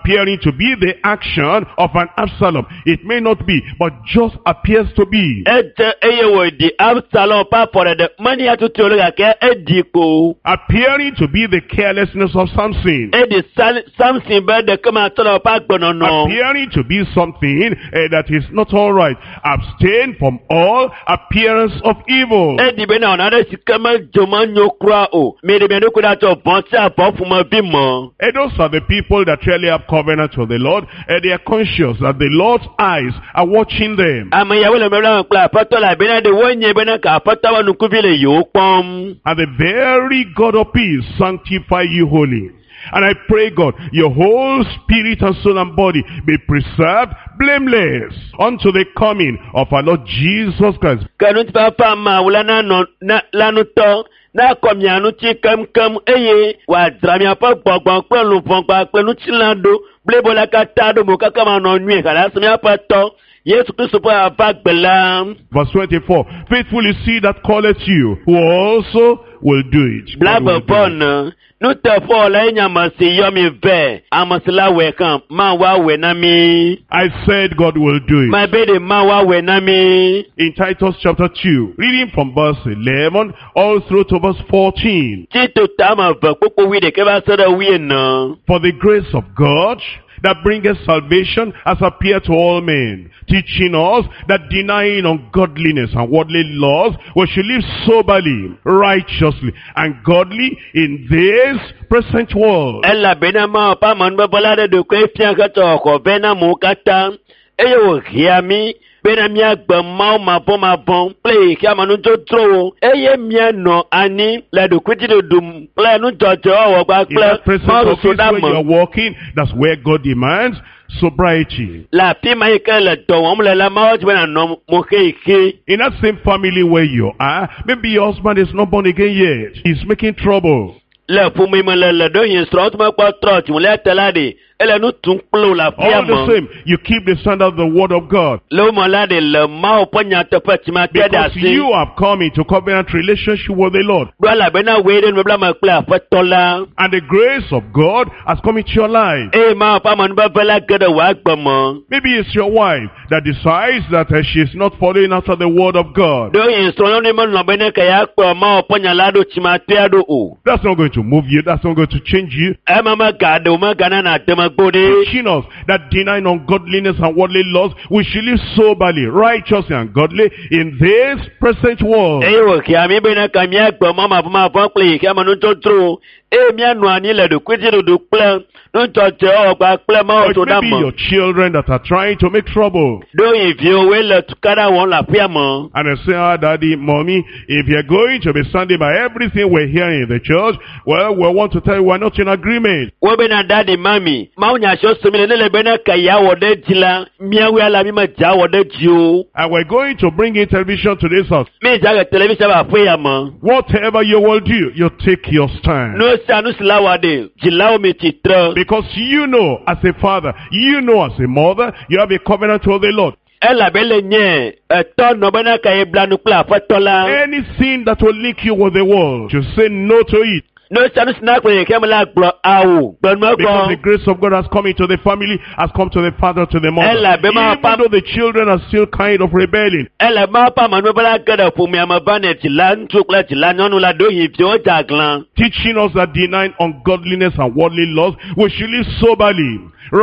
appearing to be the action of an Absalom. It may not be, but just appears to be. Edze eye wòɖi Absalom ƒe afɔɖeɖe menya tutu o gake eɖi ko. Appearing to be the carelessness of Samson. Eɖi Samson be ɖekematɔlawo ƒe agbenɔnɔ. Appearing to be something that is not all right. Abstain from all appearance of evil. Eɖi bena wɔna aɖe si ke medzo menyo kura o. Miɖe mia ɖokui ɖa tso vɔ̃ sia vɔ̃ ƒomevi me. And those are the people that really have covenant with the Lord, and they are conscious that the Lord's eyes are watching them. Ame yawo le mebla me kple aƒetɔ la bena ɖe wonye bena ka aƒetɔ ƒe ŋkuvi le yewo kpɔm. And the very God of peace sanctify you wholly. And I pray, God, your whole spirit and soul and body be preserved blameless unto the coming of our Lord Jesus Christ. Ke ŋutifafa Mawu la nanɔ na la ŋutɔ nakɔ mia ŋuti keŋkeŋ eye wòadzra miaƒe gbɔgbɔ kple luʋɔ kpakple ŋutilã ɖo blibo la katã ɖo mo kaka manɔ nyuie halasi míaƒe tɔ Yesu Kristo ƒe ava gbe la. Verse 24, faithful is he that calleth you, who also will do it. God will Blaeve do vɔ it. ne nuteƒewɔla ye nye ame si yɔ mi vɛ ame si la wɔe hã Mawu awɔe na mi. I said God will do it. Mabe ɖe Mawu awɔe na mi. In Titus chapter 2, reading from verse 11 all through to verse 14. Tito ta ame eve kpokpo wuiɖekɛ va se ɖe wuiene. For the grace of God that bringeth salvation has appeared to all men, teaching us that denying ungodliness and worldly lusts, we should live soberly, righteously, and godly in this present world. Elabena Mawu ƒe amenuveve la ɖe ɖokoe fia hetsɔ xɔxɔ vɛ na amewo katã eye wòhea mí bena míagbe Mawu mavɔmavɔ kple xexeame nudzodzrowo eye míanɔ anyi le ɖokuidziɖuɖu kple nudzɔdzɔewɔwɔ In kpakple that present Mawu office where you soɖame. are working, that's where God demands sobriety. Le afi ma yi ke le dɔ wɔm le la, Mawu dzi be nànɔ mo xexi. In that same family where you are, maybe your husband is not born again yet. He's making trouble. Le ƒome me le le ɖewohĩ srɔ̃wo mekpɔ trɔ dziwòlia te la ɖe, ele nu tum kple wò le afia All the me. same, you keep the standard of the word of God. Le wo me la ɖe le Mawu ƒe nyateƒe tsimate ɖe Because asi. you have come into covenant relationship with the Lord. Ɖo elabena wòe ɖe nubabla me kple aƒetɔ la. And the grace of God has come into your life. Eye Mawu ƒe amenuveve la ge ɖe wò agbe me. Maybe it's your wife that decides that she is not following after the word of God. Ɖewohĩ srɔ̃nyɔnue melɔ̃ be ne ke yeakplɔ Mawu ƒe nya la ɖo tsimatea ɖo o. That's not going to move you. That's not going to change you. Ema megaɖe o megana nàde megbe o ɖe. Teaching us that denying ungodliness and worldly lusts, we should live soberly, righteously, and godly in this present world. Eye wòhea mí bena ka míagbe Mawu mavɔmavɔ kple xexeame nudzodzrowo eye míanɔ anyi le ɖokuidziɖuɖu kple nudzɔdzɔewɔwɔ kpakple Mawu Or it may be soɖame. your children that are trying to make trouble. Ɖewohĩ viwòwoe le tukaɖa wɔm le aƒea me. And they say, ah, daddy, mommy, if you're going to be standing by everything we're hearing in the church, well, we want to tell you we're not in agreement. Wobena daddy mami, Mawu nya siwo sem le ne le bena ke yeawɔ ɖe dzi la, míawoe ala mí medze awɔ ɖe dzi o. And we're going to bring in television to this house. Mídze age television va aƒe ya me. Whatever you will do, you take your stand. Nu sia nu si la wɔ ɖe, dzilawo mi tsitre. Because you know, as a father, you know as a mother, you have a covenant with the Lord. Elabe le nye etɔ nɔ bena ke yebla nu kple aƒetɔ la. Anything that will link you with the world, you say no to it. Nu sia nu si na kple xexeame la gblɔ awo gbenua Because the gbɔ. grace of God has come into the family, has come to the father, to the mother. Elabe ma Even though the children are still kind of rebelling. Ele Mawu ƒe amenuveve la ge ɖe ƒomea me va ne dzila ŋutsu kple dzila nyɔnu la ɖewohĩ viwo dze aglã. Teaching us that denying ungodliness and worldly lusts, we should live soberly,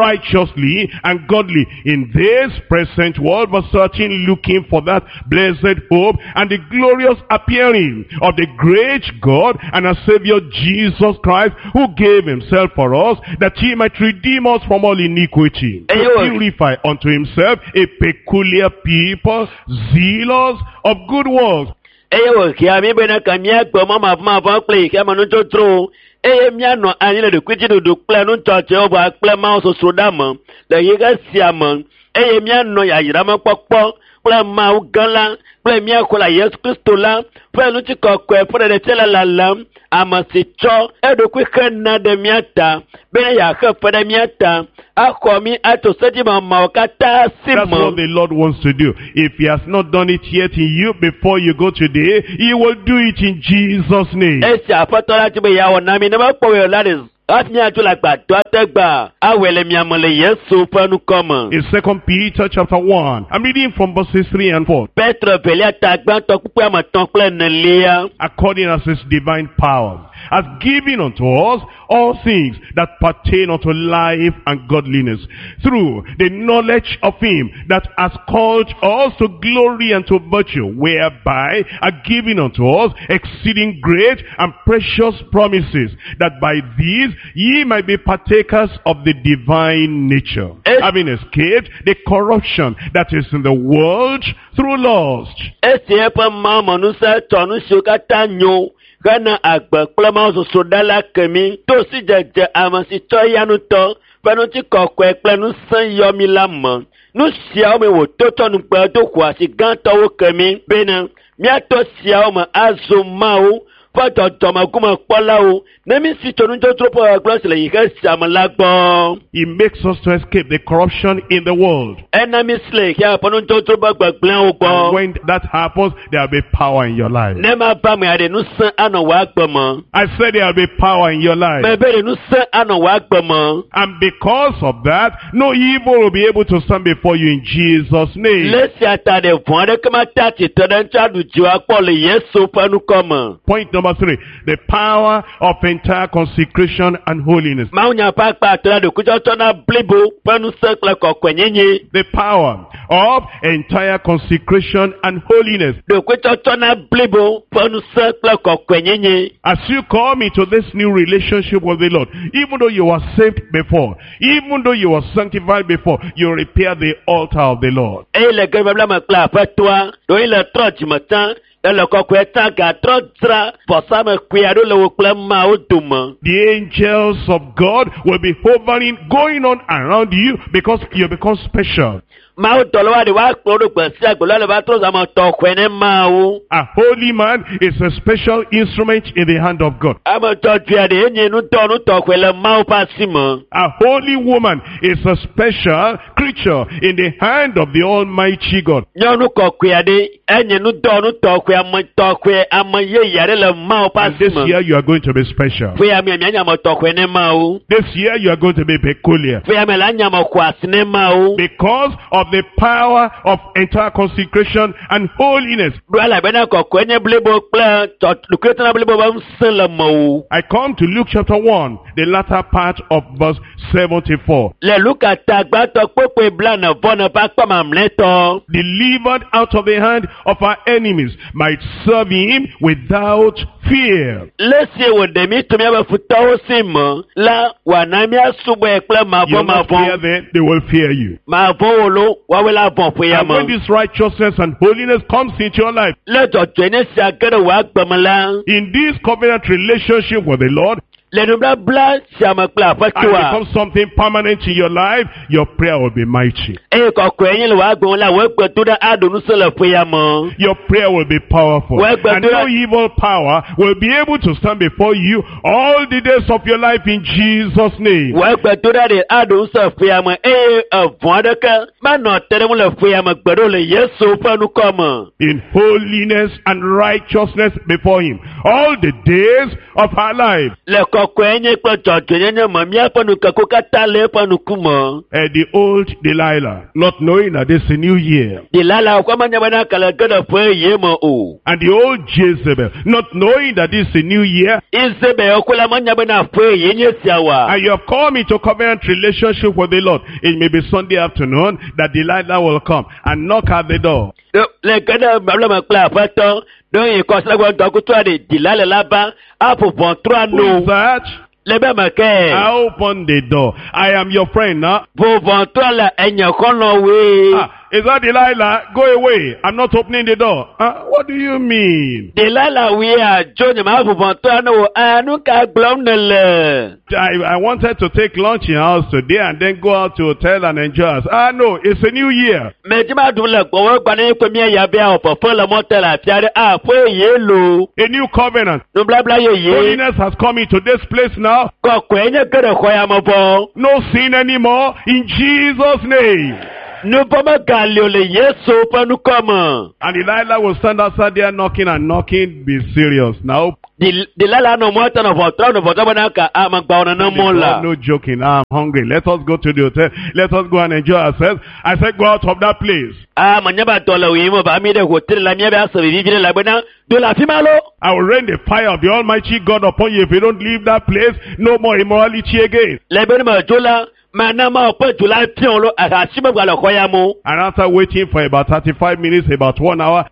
righteously, and godly in this present world. Verse 13, looking for that blessed hope and the glorious appearing of the great God and our Savior Jesus Christ, who gave himself for us, that he might redeem us from all iniquity, Eye to wò- purify unto himself a peculiar people, zealous of good works. Eye wòhea mí bena ke míagbe mɔ mavɔmavɔ kple xexeame nudzodzrowo eye míanɔ anyi le ɖokuidziɖuɖu kple nudzɔdzɔewɔwɔ kple Mawu sosroɖame le xexe sia me eye míanɔ yayramekpɔkpɔ kple Mawu gã la kple mía xɔla Yesu Kristo la ƒe ŋutikɔkɔe ƒe ɖeɖefia le lalam ame si tsɔ eɖokui hena ɖe mía ta bena yeaxe fe ɖe mía ta axɔ mí atso sedzimamawo katã si That's what me. the Lord wants to do. If he has not done it yet in you before you go today, he will do it in Jesus' name. Esi aƒetɔ la dzi be yeawɔ na mí ne mekpɔ wò la ɖe Hafi miadzo le agbadɔa te gba awɔe le miame le Yesu ƒe ŋkɔ me. In 2 Peter chapter 1, I'm reading from verses 3 and 4. Petro velia ta gbãtɔ kpukpui ame etɔ̃ kple enelia. According as his divine power has given unto us all things that pertain unto life and godliness, through the knowledge of him that has called us to glory and to virtue, whereby are given unto us exceeding great and precious promises, that by these ye might be partakers of the divine nature, having escaped the corruption that is in the world through lust. Esi eƒe mawumenusẽ tsɔ nu siwo katã nyo hena agbe kple mawusosoɖa la ke mí to sidzedze ame si tsɔ eya ŋutɔ ƒe ŋutikɔkɔe kple ŋusẽ yɔ mí la me. Nu siawo me wòto tsɔ nugbe do xɔasi gãtɔwo ke mí bena míato siawo me azu Mawu ƒe dzɔdzɔmegumekpɔlawo ne mí si tso nudzodzro ƒe gbegblẽ si le xexe sia me la gbɔ. He makes us to escape the corruption in the world. Ena mí si le xexea ƒe nudzodzro ƒe gbegblẽwo And gbɔ. when that happens, there will be power in your life. Ne ma va me aɖe ŋusẽ anɔ wò agbe me. I said there will be power in your life. Mebe ɖe ŋusẽ anɔ wò agbe me. And because of that, no evil will be able to stand before you in Jesus' name. Le sia ta ɖe vɔ̃ aɖeke mate atsitre ɖe ŋuti aɖu dziwò akpɔ le Yesu ƒe ŋkɔ me. Point number 3, the power of entire consecration and holiness. Mawunya ƒe akpa atɔ̃ la ɖokuitsɔtsɔ na blibo ƒe ŋusẽ kple kɔkɔenyenye. The power of entire consecration and holiness. Ɖokuitsɔtsɔ na blibo ƒe ŋusẽ kple kɔkɔenyenye. As you come into this new relationship with the Lord, even though you were saved before, even though you were sanctified before, you repair the altar of the Lord. Eye le ge babla me kple aƒetɔa, ɖewohĩ le trɔ dzime tsã, ele kɔkɔe tsã gatrɔ dzra vɔsamekpui aɖewo le wo kple Mawu dome. The angels of God will be hovering, going on around you because you become special. Mawu dɔlawo aɖe woakplɔ wo ɖo gbe sia gbe la le va trɔ zu ame tɔxɔe ne Mawu. A holy man is a special instrument in the hand of God. Ame dzɔdzɔe aɖe enye nudɔnu tɔxɔe le Mawu ƒe asi me. A holy woman is a special creature in the hand of the Almighty God. Nyɔnu kɔkɔe aɖe enye nudɔnu tɔxɔe ame tɔxɔe ame yeye aɖe le Mawu ƒe And asi this me. year you are going to be special. Ƒe ya me mianye ame tɔxɔe ne Mawu. This year you are going to be peculiar. Ƒe ya me la nye ame xɔasi ne Mawu. Because of the power of entire consecration and holiness. Ɖo elabena kɔkɔe nye blibo kple ɖokuitsɔtsɔna blibo ƒe ŋusẽ le mewò. I come to Luke chapter 1, the latter part of verse 74. Le Luka ta gbãtɔ kpokpoe blaene vɔ ne ƒe akpa mamlɛtɔ. Delivered out of the hand of our enemies, might serve him without fear. Le esi wòɖe mí tso míaƒe futɔwo si me la, wòana míasubɔe kple You will not fear mavɔmavɔ. them, they will fear you. Mavɔ̃ wo lo, woawoe la vɔ̃ ƒe ya And when me. this righteousness and holiness comes into your life, Le dzɔdzɔenye sia ge ɖe wò agbe me la, in this covenant relationship with the Lord, le nubabla sia me kple and aƒetoa, becomes something permanent in your life, your prayer will be mighty. eye kɔkɔe nye le wò agbe me la, wò gbedoɖa aɖo ŋusẽ le ƒe ya me. Your prayer will be powerful. Well, but And no evil power will be able to stand before you all the days of your life in Jesus' name. Wò gbedoɖa ɖe aɖo ŋusẽ ƒe ya me eye evɔ̃ aɖeke manɔ te ɖe ŋu le ƒe ya me gbe ɖo le Yesu ƒe ŋkɔ me. In holiness and righteousness before him all the days of our life. Le kɔkɔenye kple dzɔdzɔenyenye me, míaƒe nukeke katã le eƒe ŋkume. The old Delilah, not knowing that it's a new year. Delala ƒe menya bena ke le ge ɖe ƒe yeye me o. And the old Jezebel, not knowing that it's a new year. Isabel ko la menya bena ƒe yeye nye sia oa. And you have come into covenant relationship with the Lord. It may be Sunday afternoon that Delilah will come and knock at the door. Le ge ɖe babla me kple aƒetɔ, ɖewohĩ kɔsiɖagbe ŋdɔkutɔ ɖe Delila la va aƒo ʋɔtrua Who nu. is that? Le be me ke. I open the door. I am your friend now. Ƒo ʋɔtrua le enye xɔlɔ̃woe. Ah, is that Delilah? Go away. I'm not opening the door. What do you mean? Delila woea dzo nye ma ƒo ʋɔtrua ne wo. Nu ka gblɔm nèle? I wanted to take lunch in house today and then go out to hotel and enjoy us. No, it's a new year. Medi ma ɖum le gbɔwɔ gba ne ko mía ya be awɔ fefe le mɔte le afi aɖe. Ƒe yeye lo. A new covenant. Nublabla yeye. Holiness has come into this place now. Kɔkɔe nye ge ɖe xɔ ya me vɔ. No sin anymore in Jesus' name. Nuvɔ̃ megali o le Yesu ƒe ŋkɔ me. And Delilah will stand outside there knocking and knocking. Be serious now. Delila nɔ mɔ ta nɔ ʋɔtrɔ nɔ ʋɔtrɔ bena ka amagbawo nene mɔ la. No joking. I'm hungry. Let us go to the hotel. Let us go and enjoy ourselves. I said, go out of that place. Aa menya be dɔ le wòyim o ba mi ɖe hotel la mía be ase vivi ɖe la bena do le afi ma lo. I will rain the fire of the Almighty God upon you if you don't leave that place. No more immorality again. Le be ne me dzo la, mana ma ƒe dzo la fiɔ lo ahasi me gba le xɔ ya mo. And after waiting for about 35 minutes, about 1 hour,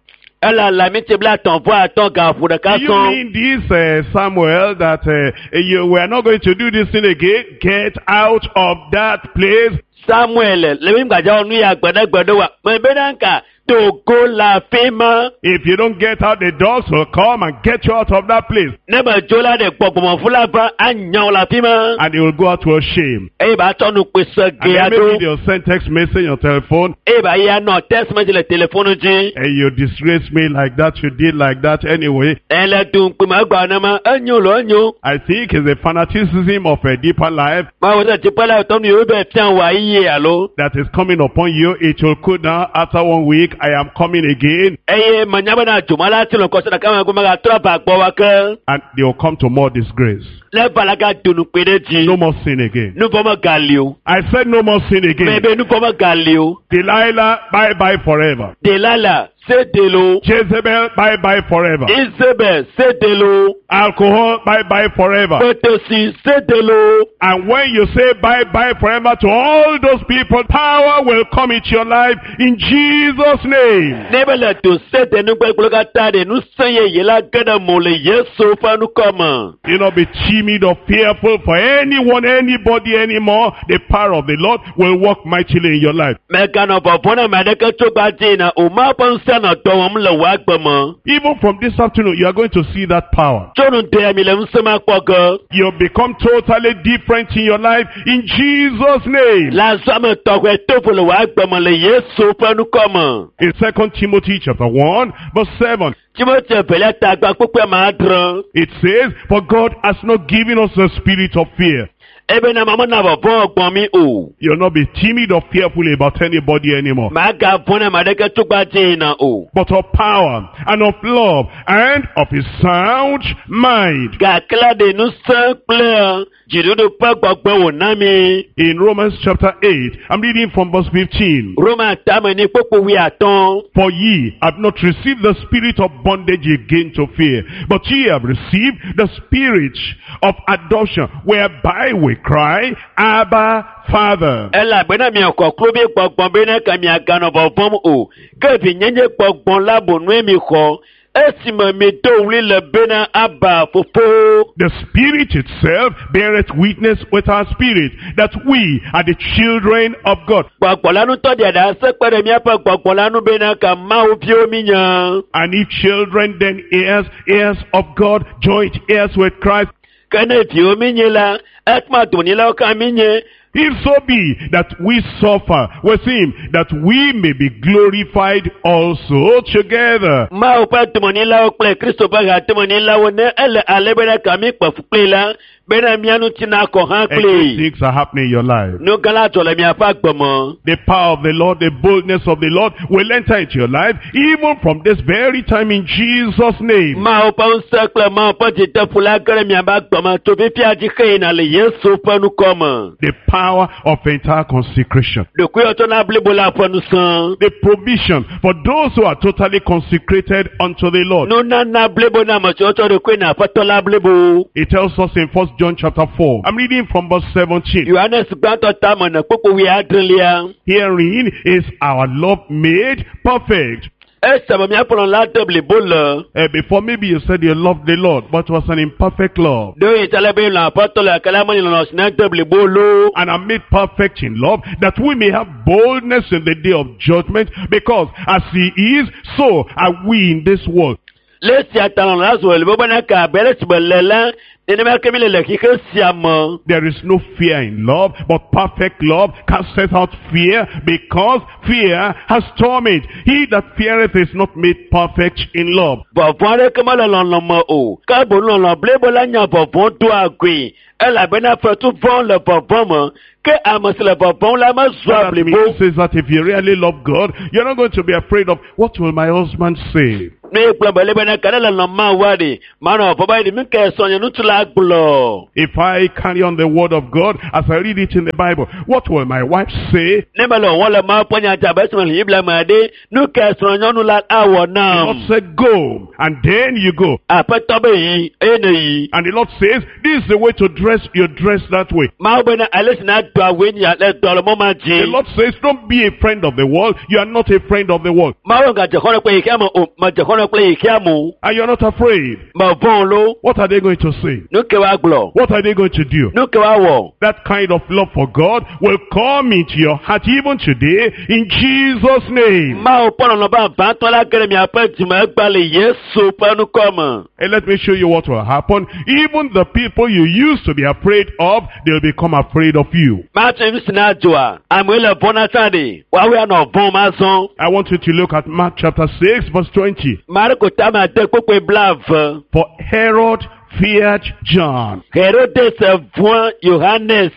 Ele la mi ti bla tɔn vɔ atɔ gaƒo ɖeka do you sɔn. mean this, Samuel, that you, we are not going to do this thing again? Get out of that place. Samuel le mi gbadza wɔ nu ya gbeɖegbeɖe wa. Me bena nka togo le afi ma. If you don't get out, the dogs will come and get you out of that place. Ne me dzo la ɖe gbɔgbɔmɔfu la va anya wo le afi ma. And they will go out to a shame. Eye ba tsɔ nukpese And gea then maybe ɖo. they'll send text message on telephone. Eye ba ya nɔ text message le telefonu dzi. And you disgrace me like that, you did like that anyway. Ele dun kpema egba nema enyo lo enyo. I think it's the fanaticism of a deeper life Mawu sɛ dziƒo la tɔ nu yewo be fia wɔ ayi alo. that is coming upon you. It will cool down after 1 week. I am coming again. Eye menya bena dzoma la ti le kɔsɛ ɖeka me ko megatrɔ va gbɔ wa ke. And they will come to more disgrace. Ne va la ga do nukpe ɖe dzi. No more sin again. Nu vɔ megali o. I said no more sin again. Mebe nu vɔ megali o. Delilah, bye bye forever. Delala se delo. Jezebel, bye bye forever. Isabel se delo. Alcohol, bye bye forever. Petosi se delo. And when you say bye bye forever to all those people, power will come into your life in Jesus' name. Ne be le do se de nugbegblẽ katã ɖe ŋusẽ yeye la ge ɖe mo le Yesu ƒe ŋkɔme. You not be timid or fearful for anyone, anybody anymore. The power of the Lord will work mightily in your life. Mèganɔ vɔvɔ̃ na ame aɖeke tso gbadzi na o ma ƒe ŋusẽ nɔ dɔ wɔm le wò agbe me. Even from this afternoon, you are going to see that power. Tso nu de mi le ŋusẽ ma kpɔ ge. You'll become totally different in your life in Jesus' name. Le azɔ ame tɔxɛ tovo le wò agbe me le Yesu ƒe ŋkɔme. In 2 Timothy chapter 1, verse 7, Timothy evelia ta gba kpukpui ame adre. it says, For God has not given us the spirit of fear. Ebena ma mena vɔvɔ̃ gbɔn mi o. You'll not be timid or fearful about anybody anymore. Màgavɔ̃ na ame aɖeke tso gbadzi na o. But of power and of love and of a sound mind. Gake la ɖe ŋusẽ kple dziɖuɖu ƒe gbɔgbɔ wòna mi. In Romans chapter 8, I'm reading from verse 15. Roma tame ni kpukpui wuiatɔ̃. For ye have not received the spirit of bondage again to fear, but ye have received the spirit of adoption, whereby we cry, Abba, Father. Elabena miaxɔ kluvi gbɔgbɔ bena ke miaganɔ vɔvɔ̃m o. Ke vinyenye gbɔgbɔ la boŋue mixɔ. Esime mido ɣli le bena Aba fofo. The Spirit itself beareth witness with our spirit that we are the children of God. Gbɔgbɔ la ŋutɔ ɖe ɖase kpe ɖe míaƒe gbɔgbɔ la ŋu bena ke Mawu viwo míenye. And if children, then heirs, heirs of God, joint heirs with Christ. Ke ne viwo míenye la, ekema donyilawo katã míenye. If so be that we suffer with him, that we may be glorified also together. Mawu ƒe domenyilawo kple Kristo ƒe hadomenyilawo ne ele ale bena ka mí kpe fu kpli la, bena mía ŋuti nakɔ hã And great kpli. things are happening in your life. Nu gã la dzɔ le miaƒe agbe me. The power of the Lord, the boldness of the Lord will enter into your life even from this very time in Jesus' name. Mawu ƒe ŋusẽ kple Mawu ƒe dzideƒo la ge ɖe miaƒe agbe me tso fifia dzi xeyina le Yesu ƒe ŋkɔ me. The power of entire consecration. Ɖokuiwɔtsɔna blibo la ƒe ŋusẽ. The provision for those who are totally consecrated unto the Lord. Nunana blibo na ame siwo tsɔ ɖokui na Aƒetɔ la blibo. It tells us in 1 John chapter 4. I'm reading from verse 17. Yohanes gbãtɔ tame ne kpukpui wuiadrelia. Herein is our love made perfect. Esime míaƒe lɔlɔ̃ la de blibo le. Before maybe you said you loved the Lord, but it was an imperfect love. Ɖewohĩ ta le be lɔ̃ Aƒetɔ le gake la menye lɔlɔ̃ si ne de blibo loo. And are made perfect in love, that we may have boldness in the day of judgment, because as he is, so are we in this world. Le esia ta lɔlɔ̃ la zu blibo bena ke abe ale si be le la, nenema ke mi le le xixe sia me. There is no fear in love, but perfect love casteth out fear, because fear has torment. He that feareth is not made perfect in love. Vɔvɔ̃ aɖeke mele lɔlɔ̃ me o. Ke boŋ lɔlɔ̃ blibo la nya vɔvɔ̃ doa goe. Elabena fetu vɔ̃ le vɔvɔ̃ me. Ke ame si le vɔvɔ̃m la mezua That blibo. means is that if you really love God, you're not going to be afraid of what will my husband say? Ne ye gblɔ be le bena ka ne le lɔ̃ Mawua ɖe, manɔ vɔ̃ be ɖe nu ke srɔ̃nye ŋutsu la gblɔ. If I carry on the word of God as I read it in the Bible, what will my wife say? Ne mele wɔwɔm le Mawu ƒe nya dzi abe esime le Biblia me ɖe, nu ke srɔ̃nyɔnu la awɔ The nam. Lord said, go, and then you go. Aƒetɔ be yi, eye ne yi. And the Lord says, this is the way to dress, you dress that way. Mawu bena ale si na do awue nye le dɔ le mɔ ma The dzi. Lord says, don't be a friend of the world. You are not a friend of the world. Mawu gadze xɔlɔ̃ kple xexea me o, medze xɔlɔ̃ kple xexea me o. And you're not afraid. Mevɔ̃ lo. What are they going to say? Nu ke woagblɔ? What are they going to do? Nu ke woawɔ? That kind of love for God will come into your heart even today in Jesus' name. Mawu ƒe lɔlɔ̃ vavãtɔ la ge ɖe miaƒe dzime egba le Yesu ƒe ŋkɔ me. And let me show you what will happen. Even the people you used to be afraid of, they'll become afraid of you. Mate nu si na dzɔa, amewo le vɔ̃ na tsã ɖe, woawoe anɔ vɔ̃m azɔ. I want you to look at Mark chapter 6 verse 20. Marko tame ade kpukpui 20. For Herod feared John. Herodes vɔ̃ Yohanes.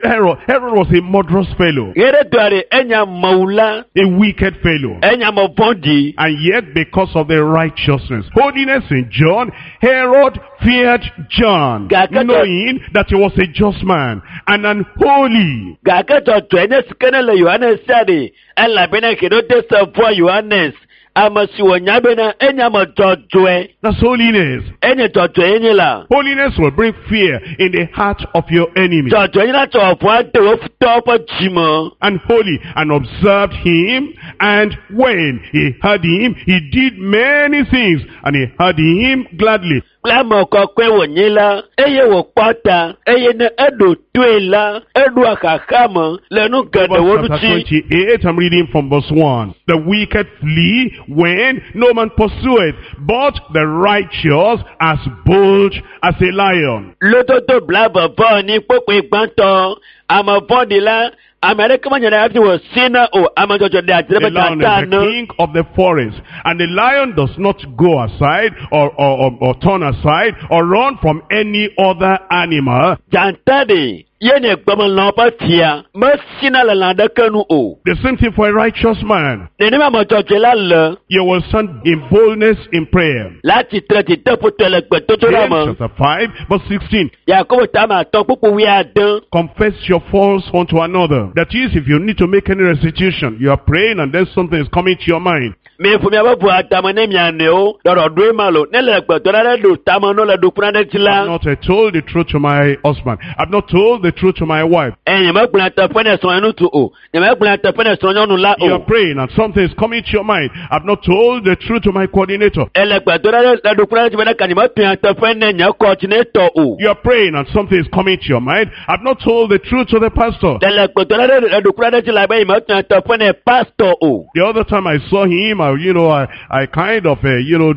Herod was a murderous fellow, Herodoa ɖe enye amewula, a wicked fellow. enye ame vɔ̃ɖi. And yet, because of the righteousness, holiness in John, Herod feared John, knowing that he was a just man and an holy. Gake dzɔdzɔe nye si ke ne le Yohanes sia ɖe, elabena Herodes vɔ̃ Yohanes, ame si wònya bena enye ame dzɔdzɔe. That's holiness. Enye dzɔdzɔe nye la. Holiness will bring fear in the heart of your enemy. Dzɔdzɔe nye la tsɔ vɔ̃ ade wo futɔwo ƒe dzime. And holy, and observed him, and when he heard him, he did many things, and he heard him gladly. Kple ame kɔkɔe wònye la, eye wòkpɔ ta, eye ne eɖo toe la, eɖoa xaxa me le nu geɖewo Proverbs chapter ŋuti. 28, I'm reading from verse 1. The wicked flee when no man pursueth, but the righteous as bold as a lion. Lododo 22 kpukpui gbãtɔ, ame vɔ̃ɖi la, ame aɖeke menye ɖe hafi wòsina o, ame dzɔdzɔ ɖe adzre The be lion dzata is the ene. king of the forest, and the lion does not go aside or turn aside or run from any other animal. Dzata ɖe, ye nye gbemelãwo ƒe fia, mesina le lã aɖeke nu o. The same thing for a righteous man. Nenema ame dzɔdzɔe la le, You will stand in boldness in prayer. la tsitre dzideƒotɔe le gbedodoɖa James me. chapter 5, verse 16. Yakobo tame 5 kpukpui 6. Confess your faults unto another. That is, if you need to make any restitution, you are praying and then something is coming to your mind. Miƒo miaƒe ʋu adame ne mia nɔewo, ɖɔɖɔɖoe ma lo, ne le gbedoɖa ɖe ɖo tame no le ɖokui aɖe dzi I've la, not told the truth to my husband. I've not told the truth to my wife. eye nyemegblɔ nyateƒe ne srɔ̃nye ŋutsu o, nyemegblɔ nyateƒe ne srɔ̃nyɔnu la You are o. praying and something is coming to your mind. I've not told the truth to my coordinator. Ele gbedoɖa ɖe le ɖokui aɖe dzi be ɖeka nyemetu nyateƒe ne nye kɔdinetɔ o. You are praying and something is coming to your mind. I've not told the truth to the pastor. Ele gbedoɖa ɖe le ɖokui aɖe dzi la be nyemetu nyateƒe ne pastor o. The other time I saw him, I kind of,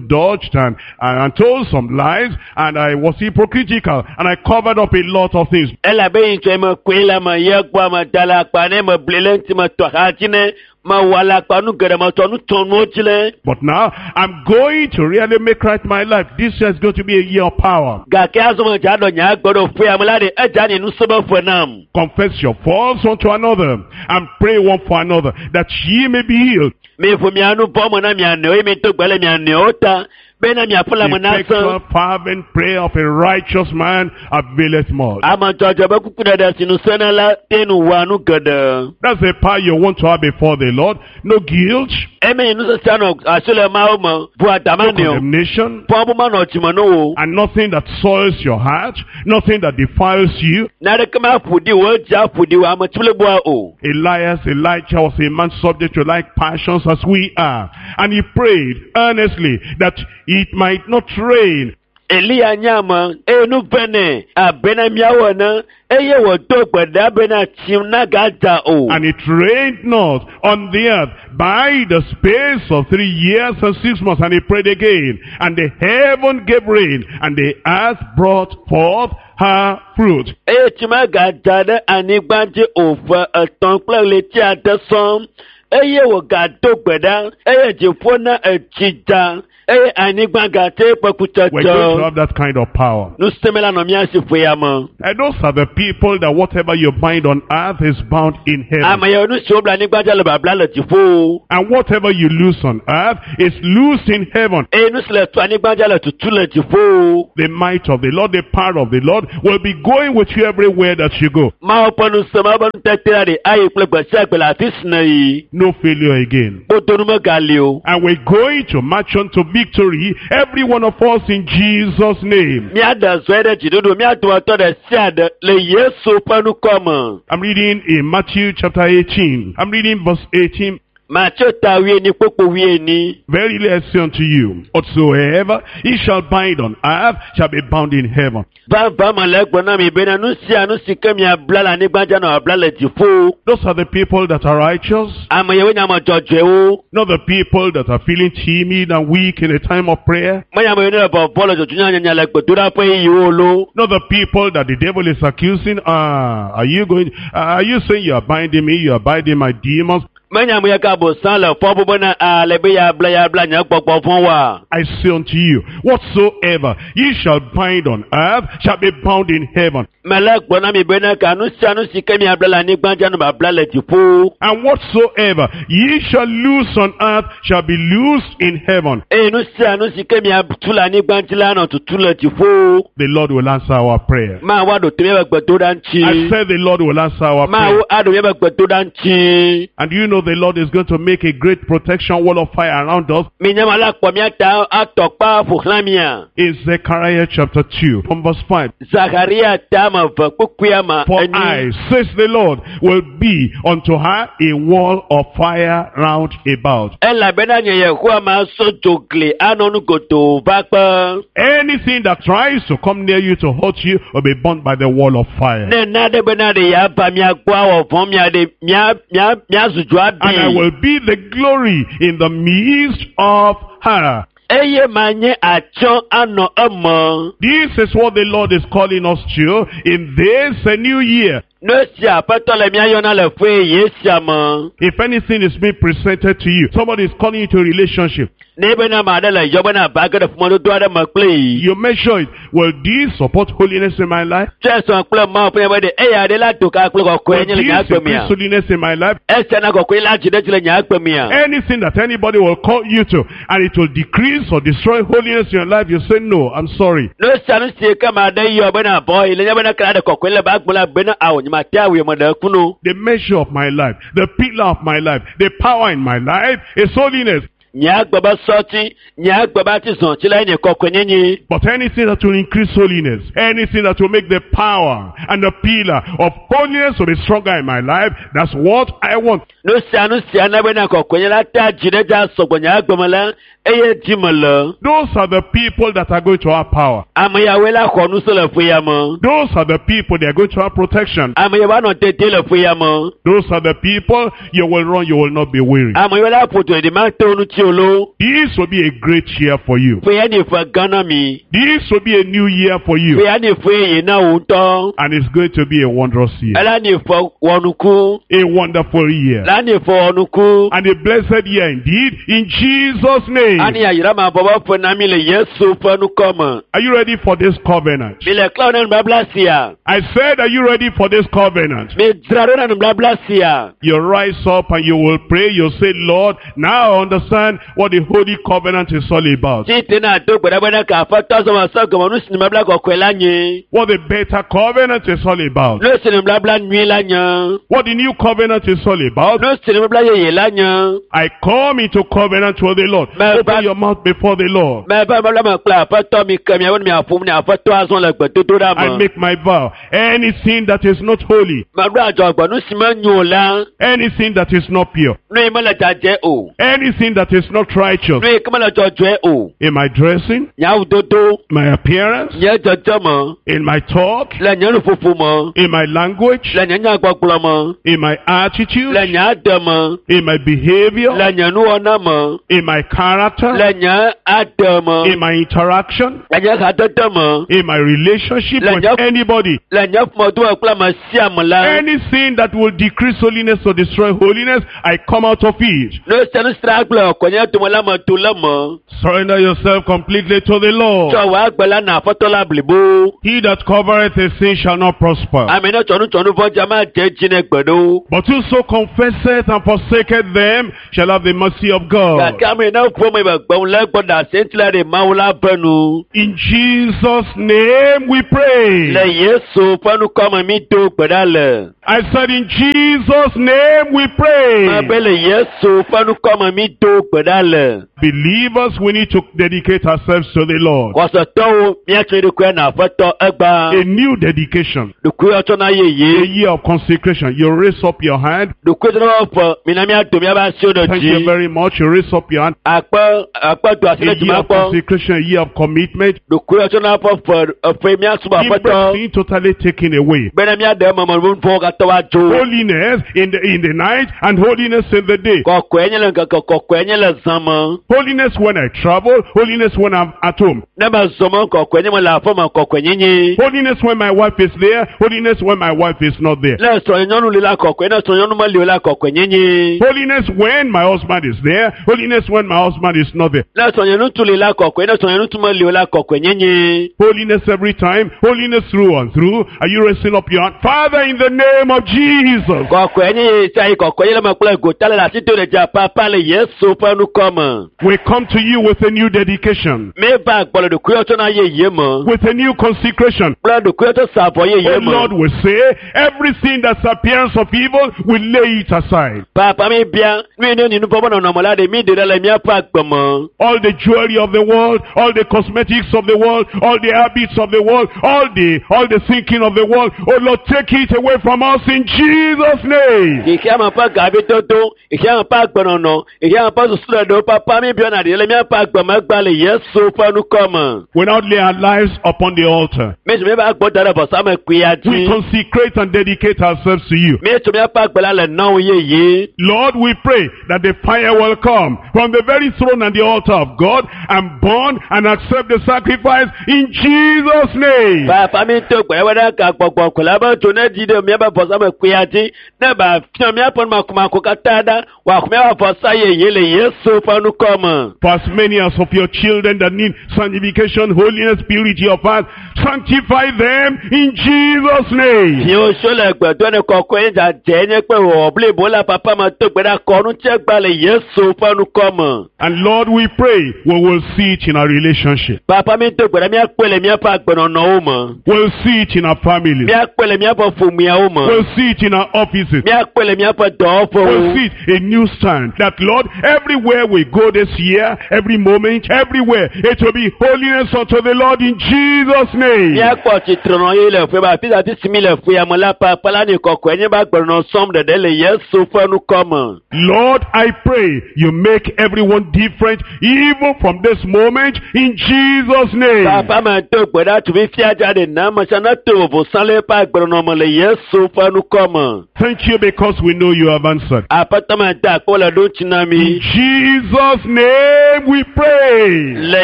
dodged and told some lies, and I was hypocritical, and I covered up a lot of things. Elabe yi ŋtsɔ me koe la me ye gbɔ me da le akpa ne me bli le ŋuti me tɔ xa dzi ne me wɔ le akpa nu geɖe me tɔ nu tɔ nuwo dzi le. But now, I'm going to really make right my life. This year is going to be a year of power. Gake azɔ me dza ɖɔ nye agbe ɖo ƒea me la ɖe edza nye nusẽ be ƒe nam. Confess your faults unto another, and pray one for another, that ye may be healed. Mi ƒo mia nu vɔ me na mia nɔewo eye mi do gbe le mia nɔewo ta bena miaƒe lãme nasẽ. Effectual fervent prayer of a righteous man availeth much. Ame dzɔdzɔ be kukuɖeɖe si nu sẽna la te nu wɔa nu geɖe. That's the power you want to have before the Lord. No guilt, Eme yi nusese nɔ asi le Mawu me ʋu adama no nɛ o. condemnation, Fɔbu manɔ dzime ne wo. and nothing that soils your heart, nothing that defiles you. Naneke ma ƒo ɖi wo dzi aƒo ɖi wo ame tsibliboa o. Elias, Elijah was a man subject to like passions as we are. And he prayed earnestly that it might not rain. Eliya nye ame eye nu ve nɛ abena míawo ene eye wòdo gbe ɖa bena tsi nagadza o. And it rained not on the earth by the space of 3 years and 6 months. And he prayed again. And the heaven gave rain, and the earth brought forth her fruit. Eye tsi megadza ɖe anyigba dzi o ƒe 3 kple ɣleti 6 sɔŋ eye wògado gbe ɖa eye dziƒo na etsi dza. Eye anyigba gate ƒe We're going to kutsetse. have that kind of power. Nusẽme la nɔ mía si ƒe ya me. And those are the people that whatever you bind on earth is bound in heaven. Ame yawo nu siwo bla anyigba dzi le babla le dziƒo. And whatever you loose on earth is loosed in heaven. Eye nu si le tu anyigba dzi le tutu le dziƒo. The might of the Lord, the power of the Lord will be going with you everywhere that you go. Mawu ƒe nusẽ, Mawu ƒe nutete la ɖe ayi kple gbe sia gbe le afi si ne yi. No failure again. Kpodonu megali o. And we're going to march on to victory, every one of us in Jesus' name. Míaɖe zɔe ɖe dziɖuɖu, mía dometɔ ɖe sia ɖe le Yesu ƒe ŋkɔ me. I'm reading in Matthew chapter 18. I'm reading verse 18. Mateo ta wuienyi kpokpo wuienyi. Verily I say unto you, whatsoever ye shall bind on earth shall be bound in heaven. Vava me le egblɔ na mi bena nu sia nu si ke miabla le anyigba dzi anɔ abla le dziƒo. Those are the people that are righteous, Ame yawoe nye ame dzɔdzɔewo. not the people that are feeling timid and weak in a time of prayer, Menye ame yiwo ne le vɔvɔ le dzɔdzɔnyanya le gbedoɖaƒe yiwo lo. not the people that the devil is accusing. Ah, are you going, are you saying you are binding me, you are binding my demons? Menye ame yi ke abosam le fɔ bu bena a le be yeabla yeabla nye gbɔgbɔ vɔ̃ woa. I say unto you, whatsoever ye shall bind on earth shall be bound in heaven. Mele gblɔ na mi bena ka nu sia nu si ke miabla le anyigba dzi anɔ babla le dziƒo. And whatsoever ye shall loose on earth shall be loosed in heaven. Eye nu sia nu si ke miatu le anyigba dzi la anɔ tutu le dziƒo. The Lord will answer our prayer. Mawu aɖo to míaƒe gbedoɖa I ŋuti. said the Lord will answer our Mawu prayer. aɖo míaƒe gbedoɖa ŋuti. And you know the Lord is going to make a great protection wall of fire around us Minya ma la kpɔ mía ta atɔ kpa ƒo xlã mía. in Zechariah chapter 2 from verse 5. Zacharia ta ame eve kpukpuia me For enyi. I, says the Lord, will be unto her a wall of fire round about. Elabena nye Yehowa ma so dzo gli anɔ nu godoo va kpe. Anything that tries to come near you to hurt you will be burnt by the wall of fire. Ne na ɖe bena ɖe yeava mía gbɔ awɔ vɔ̃ mía ɖe mía mía míazu dzo And I abi. will be the glory in the midst of her. Eye manye atsyɔ anɔ eme. This is what the Lord is calling us to in this new year. Nu sia Aƒetɔ le mía yɔna le ƒe ye sia me. If anything is being presented to you, somebody is calling you to a relationship, Ne bena ame aɖe le yɔ bena va ge ɖe ƒomedodo aɖe me kple yi. you measure it. Will this support holiness in my life? Tsɔe sɔ kple Mawu ƒe nya be ɖe eya ɖe la do ka kple kɔkɔe Will nye le nye this agbe mea. increase holiness in my life? Esia na kɔkɔe la dzi ɖe dzi le nye agbe mea. Anything that anybody will call you to, and it will decrease or destroy holiness in your life, you say, no, I'm sorry. Nu sia nu si ke ame aɖe yɔ bena vɔ yi le nye bena ke la ɖe kɔkɔe le be agbe la bena awo nye ma te awui me ɖe kunu. The measure of my life, the pillar of my life, the power in my life is holiness. Nye agbe be sɔti, nye agbe be atizɔti la nye kɔkɔe nyenye. But anything that will increase holiness, anything that will make the power and the pillar of holiness to be stronger in my life, that's what I want. Nu sia nu sia na bena kɔkɔe nye la te adzi ɖe dzi asɔgbɔ nye agbe me la eye dzi me le. Those are the people that are going to have power. Ame yawoe la xɔ nusẽ le ƒe ya me. Those are the people that are going to have protection. Ame yawoe anɔ tete le ƒe ya me. Those are the people you will run, you will not be weary. Ame yawoe la ƒo du ɖi ma te wo ŋuti o lo. This will be a great year for you. Ƒe ya ni ƒe gã na mi. This will be a new year for Ƒe you. ya ni ƒe ye na wò ŋutɔ. And it's going to be a wondrous year. Ela ni ƒe wɔnuku. A wonderful year. La ni ƒe wɔnuku. And a blessed year indeed in Jesus' name. Ani yayra ma bɔbɔ ƒe na mi le Yesu ƒe ŋkɔ me. Are you ready for this covenant? Mi le klã na nubabla sia. I said, are you ready for this covenant? Mi dzra ɖo na nubabla sia. You rise up and you will pray. You say, Lord, now I understand what the Holy Covenant is all about. Tite na do gbe ɖa bena ka Aƒetɔ zɔma sɔ gɔme nu si nubabla kɔkɔe la nye. What the better covenant is all about. Nu si nubabla nyui la nye. What the new covenant is all about. Nu si nubabla yeye la nye. I come into covenant with the Lord. Mẹ- Open your mouth before the Lord. Mɛ va nubabla me kple Aƒetɔ mi ke miawo ne miaƒom ne Aƒetɔ azɔ le gbedodoɖa I me. make my vow. Anything that is not holy, Meɖo adzɔgbe nu si menyo o la, anything that is not pure, nu yi mele dzadzɛ o, anything that is not righteous nu yi ke mele dzɔdzɔe o, in my dressing, nye awudodo, my appearance, nye dzedzeme, in my talk, le nye nuƒoƒo me, in my language, le nye nyagbɔgblɔ me, in my attitude, le nye ade me, in my behavior, le nye nuwɔna me, in my character, le nye ade me, in my interaction, le nye hadede me, in my relationship Like with that- anybody. le nye ƒomedome kple ame sia ame la, Anything that will decrease holiness or destroy holiness, I come out of it. nu sia nu si la gblẽ kɔnye nye dome la me to le me. Surrender yourself completely to the Lord. Tsɔ wò agbe la na aƒetɔ la blibo. He that covereth his sin shall not prosper. Ame ne tsɔ nu tsɔ nu vɔ dza ma dze edzi ne gbe ɖo. But whoso confesseth and forsaketh them shall have the mercy of God. Gake ame ne ƒome be gbeŋu le egbɔ ɖe asi ŋuti la ɖe Mawu la ve nu. In Jesus' name we pray. Le Yesu ƒe ŋkɔ me mi do gbe ɖa le. I said in Jesus' name we pray. Ebe le Yesu ƒe ŋkɔ me mi do gbe ɖa le. Believers, we need to dedicate ourselves to the Lord. Xɔsetɔwo míatsɔ ɖokuia na aƒetɔ egba. A new dedication, Ɖokuiwɔtsɔna a yeye. year of consecration. You raise up your hand. Ɖokuiwɔtsɔna ƒe mina míado míaƒe asiwo ɖe Thank you dzi. very much. You raise up your hand. Akpe akpe do asi A ɖe dzi year of makpɔ. consecration, a year of commitment. Ɖokuiwɔtsɔna ƒe ƒe eƒe míasubɔ aƒetɔ. Everything totally taken away. Bena míaɖe eme me nu vɔ̃wo katã woadzo. Holiness in the night and holiness in the day. Kɔkɔe nye le ŋkeke, kɔkɔe nye le zã me. Holiness when I travel, holiness when I'm at home. Ne mezɔ me kɔkɔe nye me le aƒe me kɔkɔe nyenye. Holiness when my wife is there, holiness when my wife is not there. Ne srɔ̃nyɔnu li la kɔkɔe, ne srɔ̃nyɔnu meli o la kɔkɔe nyenye. Holiness when my husband is there, holiness when my husband is not there. Ne srɔ̃nyeŋutsu li la kɔkɔe, ne srɔ̃nyeŋutsu meli o la kɔkɔe nyenye. Holiness every time, holiness through and through. Are you raising up your hand? Father, in the name of Jesus. Kɔkɔe nye sia yi kɔkɔe nye le me kple gota le asi do ɖe dzi papa le Yesu ƒe ŋkɔ me. We come to you with a new dedication, Míeva gbɔ le ɖokuiwɔtsɔna yeye me with a new consecration. kple ɖokuiwɔtsɔ savɔ yeye Oh me. Lord, we say everything that's appearance of evil, we lay it aside. Papa mi bia nu yi ne nyi nuvɔ̃ ƒe nɔnɔme la ɖe mi ɖe ɖe le míaƒe agbe me. All the jewelry of the world, all the cosmetics of the world, all the habits of the world, all the thinking of the world. Oh Lord, take it away from us in Jesus' name. Xexeame ƒe gavidodo, xexeame ƒe agbenɔnɔ, xexeame ƒe susuɖeɖewo papa mi bia na ɖe le míaƒe agbe me gba le Yesu ƒe ŋkɔ me. We now lay our lives upon the altar. Míetsɔ míaƒe agbe da ɖe vɔsamlekpuia We dzi. consecrate and dedicate ourselves to you. Míetsɔ míaƒe agbe la le na wò yeye. Lord, we pray that the fire will come from the very throne and the altar of God and burn and accept the sacrifice in Jesus' name. Papa mi to gbe ɖe ɖe ka gbɔgbɔ ko la be tso ne dzi ɖe míaƒe vɔsamlekpuia dzi ne ba fiɔ míaƒe numakumako katã ɖa wòaxɔ míaƒe vɔsa yeye le Yesu ƒe ŋkɔ me. For as many as of your children that need sanctification, holiness, purity of heart, sanctify them in Jesus' name. Fiwo tso le gbedɔ ne kɔkɔe dzadze nye kple wɔwɔ blibo la papa me to gbe ɖe akɔnu tse gba le Yesu ƒe ŋkɔ me. And Lord, we pray we will see it in our relationship. Papa mi do gbe ɖe míakpɔe le míaƒe agbenɔnɔwo me. We'll see it in our families. Míakpɔe le míaƒe ƒomeawo me. We'll see it in our offices. Míakpɔe le míaƒe We'll dɔwɔƒewo. see it a new stand. That Lord, everywhere we go this year, every moment, everywhere, it will be holiness unto the Lord in Jesus' name. Míakpɔ tsitrenɔ ye le ƒe be afi sia afi si mi le ƒea me la papa la ni kɔkɔe nye be agbenɔnɔ sɔm ɖeɖe le Yesu ƒe ŋkɔ me. Lord, I pray you make everyone different, even from this moment, in Jesus' name. Papa me do gbe ɖa tu fifia dza ɖe na ame sia ne to vovo sã le eƒe agbenɔnɔ me le Yesu ƒe ŋkɔ me. Thank you because we know you have answered. Aƒetɔ me da akpɔ le ɖo ŋuti na In mi. Jesus' name we pray. Le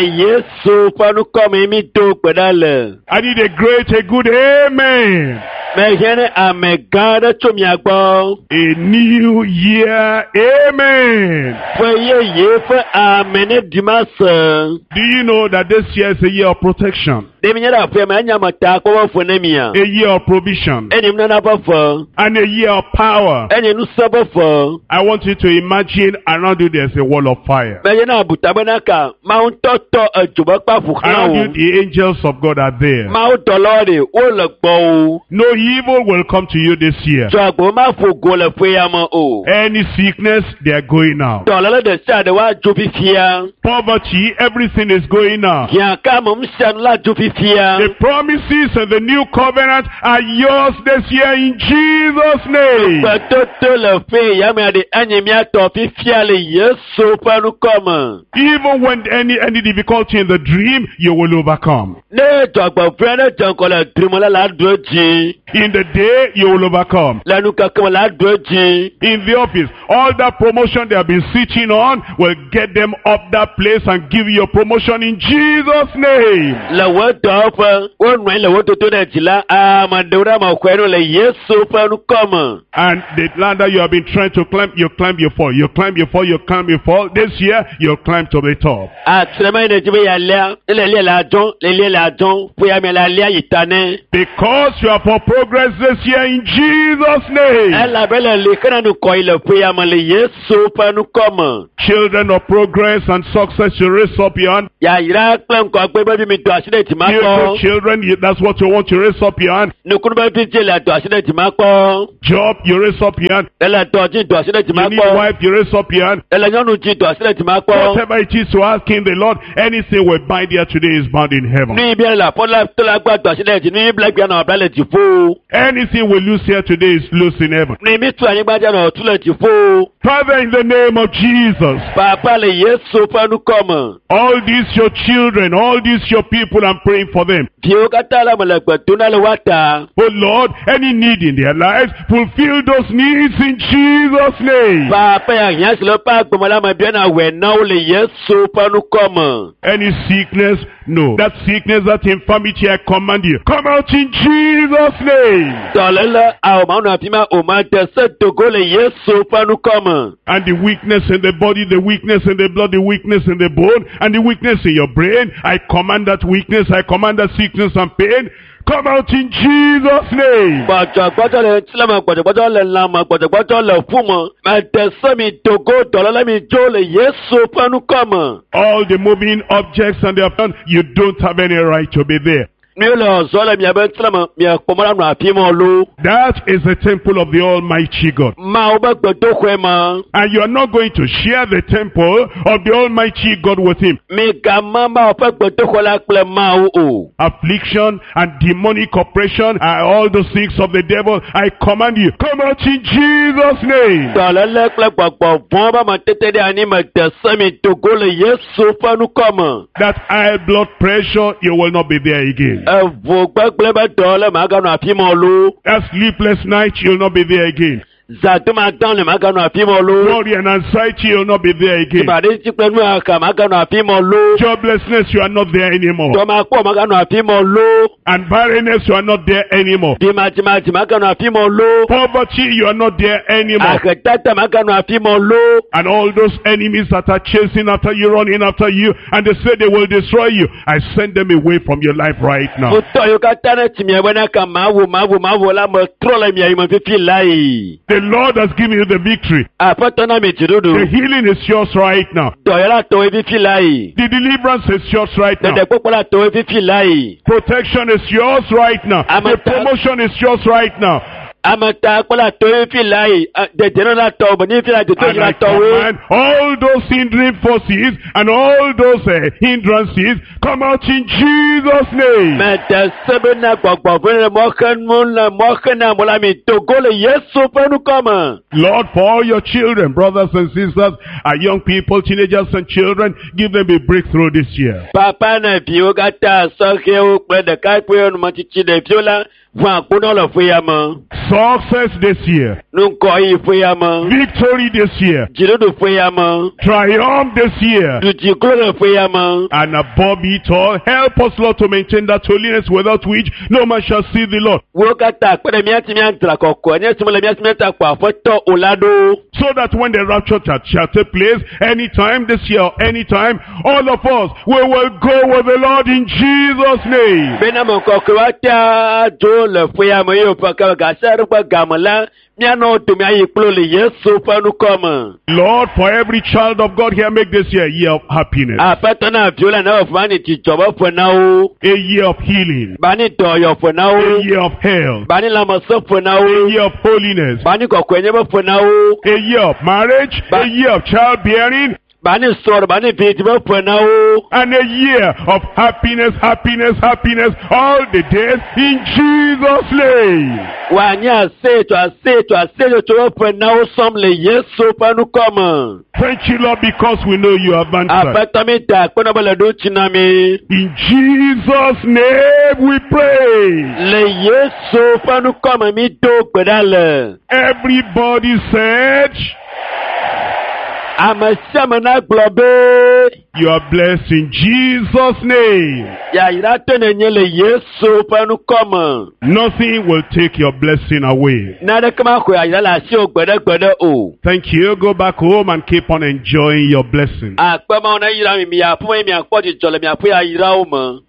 Yesu ƒe ŋkɔ me mi do gbe ɖa le. I need a great, a good amen. Mehiã ne ame gã aɖe tso mia gbɔ. A new year, amen. Ƒe yeye ƒe ame ne ɖi ma se. Do you know that this year is a year of protection, Ɖe mi nye ɖe aƒea me enya me ta kpɔ be ƒe ne mia. a year of provision, Enye nunana ƒe ƒe. and a year of power? Enye nusẽ ƒe ƒe. I want you to imagine around you there's a wall of fire. Menye na abuta bena ka Mawu ŋutɔ tɔ edzo be kpa ƒo xlã Around wo. you the angels of God are there. Mawu dɔlawo ɖe wole gbɔwò. No evil will come to you this year. Tso agbo ma ƒo go le ƒe ya me o. Any sickness, they are going out. Dɔléle ɖe sia ɖe woadzo fifia. Poverty, everything is going out. Hiã ka me nu sia nu la dzo fifia. The promises and the new covenant are yours this year in Jesus' name. Gbetoto le ƒe ya me ɖe enye míatɔ fifia le Yesu ƒe ŋkɔ me. Even when any difficulty in the dream, you will overcome. Ne dzɔgbevɔ̃e aɖe dze ŋgɔ le drime la, la ɖu edzi. In the day, you will overcome. Le nukeke me la ɖu edzi. In the office, all that promotion they have been sitting on will get them up that place and give you your promotion in Jesus' name. Le wò dɔwɔƒe, wonɔ anyi le wò dodo ɖe dzi la, ame ɖewo ɖe ame xɔe nu le Yesu Yesu ƒe ŋkɔ me. And the ladder you have been trying to climb, you climb, you fall. You climb, you fall, you climb, you fall. This year, you'll climb to the top. Atrema yi ne dzi be yealia, ne le lia le adzɔ, le lia le adzɔ, ƒe ya me le alia yi ta ne. Because you are for progress this year in Jesus' name. Elabe le li xena nukɔ yi le ƒe ya me le Yesu ƒe ŋkɔ me. Children of progress and success, you raise up your hand. Yayra kple ŋkɔgbe be vi mi do asi ɖe dzima Beautiful kpɔ. children, you, that's what you want. You raise up your hand. Nukunu be vi dze le do asi ɖe dzima kpɔ. Job, you raise up your hand. Ele dɔ dzi do asi ɖe dzima You need kpɔ. wife, you raise up your hand. Ele nyɔnu dzi do asi ɖe dzima kpɔ. Whatever it is you ask in the Lord, anything we bind here today is bound in heaven. Nu yi bia le aƒe la to la gbɔ do asi ɖe dzi. Nu yi bla gbea nɔ bla le dziƒo. Anything we lose here today is loose in heaven. Nu yi mi tu anyigba dzi nɔ tu le dziƒo. Father, in the name of Jesus, Papa le Yesu ƒe ŋkɔ me. all these your children, all these your people, I'm praying for them. Viwo katã la me le gbe dom na le woa ta. Oh Lord, any need in their lives, fulfill those needs in Jesus' name. Papa ya hiã si le woƒe agbeme la me bia na wòe na wo le Yesu ƒe ŋkɔ me. Any sickness, no. That sickness, that infirmity, I command you. Come out in Jesus' name. Dɔléle awo ma nɔ afi ma o ma de se dogo le Yesu ƒe ŋkɔ me. And the weakness in the body, the weakness in the blood, the weakness in the bone, and the weakness in your brain, I command that weakness, I command that sickness and pain. Come out in Jesus' name. Gbɔdzɔgbɔdzɔ le ŋutilã me, gbɔdzɔgbɔdzɔ le lã me, gbɔdzɔgbɔdzɔ le ƒu me. Me de se mi dogo dɔléle mi dzo le Yesu ƒe ŋkɔ me. All the moving objects and their plan, you don't have any right to be there. Nu le zɔ le miabe ŋutilã me, miakpɔ mɔ la nɔ afi ma lo. That is the temple of the Almighty God. Mawu be gbedoxɔe ma. And you are not going to share the temple of the Almighty God with him. Migama Mawu ƒe gbedoxɔ la kple Mawu o. Affliction and demonic oppression and all those things of the devil, I command you, come out in Jesus' name. Dɔléle kple gbɔgbɔ vɔ̃ be ametete ɖe anyi me de se mi dogo le Yesu ƒe ŋkɔ me. That high blood pressure, you will not be there again. Eʋu gbegblẽ be dɔléle maganɔ afi ma o lo. That sleepless night, you'll not be there again. Zãdoma dã le maganɔ afi ma o lo. Worry and anxiety, you'll not be there again. Dzimaɖitsi kple nuxaxa maganɔ afi ma o lo. Joblessness, you are not there anymore. Dɔmakpɔ maganɔ afi ma o lo. And barrenness, you are not there anymore. Dzimadzimadzi maganɔ afi ma o lo. Poverty, you are not there anymore. Ahedada maganɔ afi ma o lo. And all those enemies that are chasing after you, running after you, and they say they will destroy you, I send them away from your life right now. Futɔ yiwo katã ne tsi mia bena ka mawu mawu mawu la me trɔ le mia yime fifi la yi. The Lord has given you the victory. Aƒetɔ na mi The dziɖuɖu. healing is yours right now. Dɔyɔla tɔwoe fifi la yi. The deliverance is yours right now. Ɖeɖekpɔkpɔ la tɔwoe fifi la yi. Protection is yours right now. I'm The a- promotion is yours right now. Ameta kpɔ la tɔwoe fifi la yi. Dedenɔ la tɔwo be ni fi la dodo And la I tɔwoe. command all those hindering forces and all those hindrances come out in Jesus' name. Mede se bena gbɔgbɔ vɔ̃ le mɔxenu le mɔxena mo la mi dogo le Yesu ƒe ŋkɔ me. Lord, for all your children, brothers and sisters, our young people, teenagers and children, give them a breakthrough this year. Papa na viwo katã sɔhɛwo kple ɖekakpuiwo numetsitsi ɖeviwo la ʋu akponɔ le ƒe ya me. Success this year. Nukɔyi ƒe ya me. Victory this year. Dziɖuɖu ƒe ya me. Triumph this year. Dudziklo le ƒe ya me. And above it all, help us, Lord, to maintain that holiness without which no man shall see the Lord. Wo katã kpe ɖe mía si míadzra kɔkɔe nye si mele mía si míata kpɔ aƒetɔ o la ɖo. So that when the rapture shall take place, anytime this year, or anytime, all of us, we will go with the Lord in Jesus' name. Bena me kɔkɔe wa tea dzo le ƒe ya me ye wòƒe ke gase ɖe ƒe game la míanɔ dome ayi kplo le Yesu ƒe ŋkɔ me. Lord, for every child of God here, make this year a year of happiness, Aƒetɔ na viwo la ne wòƒe ba ni dzidzɔ be ƒe na wo. a year of healing, Ba ni dɔyɔ ƒe na a wo. year of health, Ba ni lãmesẽ ƒe na a wo. year of holiness, Ba ni kɔkɔenye be ƒe na wo. a year of marriage, a year of childbearing, Ba ni srɔ̃ ba ni vidzi be ƒe na wo. and a year of happiness, happiness, happiness, all the days in Jesus' name. Wòanye aseyeto aseyeto aseyetso be ƒe na wo sɔm le Yesu ƒe ŋkɔ me. Thank you, Lord, because we know you have answered. Aƒetɔ mi da akpe na be le ɖo tsi na mi. In Jesus' name we pray. Le Yesu ƒe ŋkɔ me mi do gbe ɖa le. Everybody said, Ame sia ame nagblɔ be You are blessed in Jesus' name. yayratɔ nènye le Yesu ƒe ŋkɔ me. Nothing will take your blessing away. Naneke maxɔ yayra le asiwò gbeɖegbeɖe o. Thank you. Go back home and keep on enjoying your blessing. Akpe Mawu ne yra mi miaƒe eye miakpɔ dzidzɔ le miaƒe yayrawo me.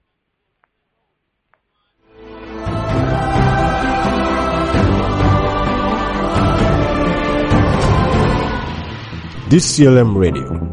DCLM Radio.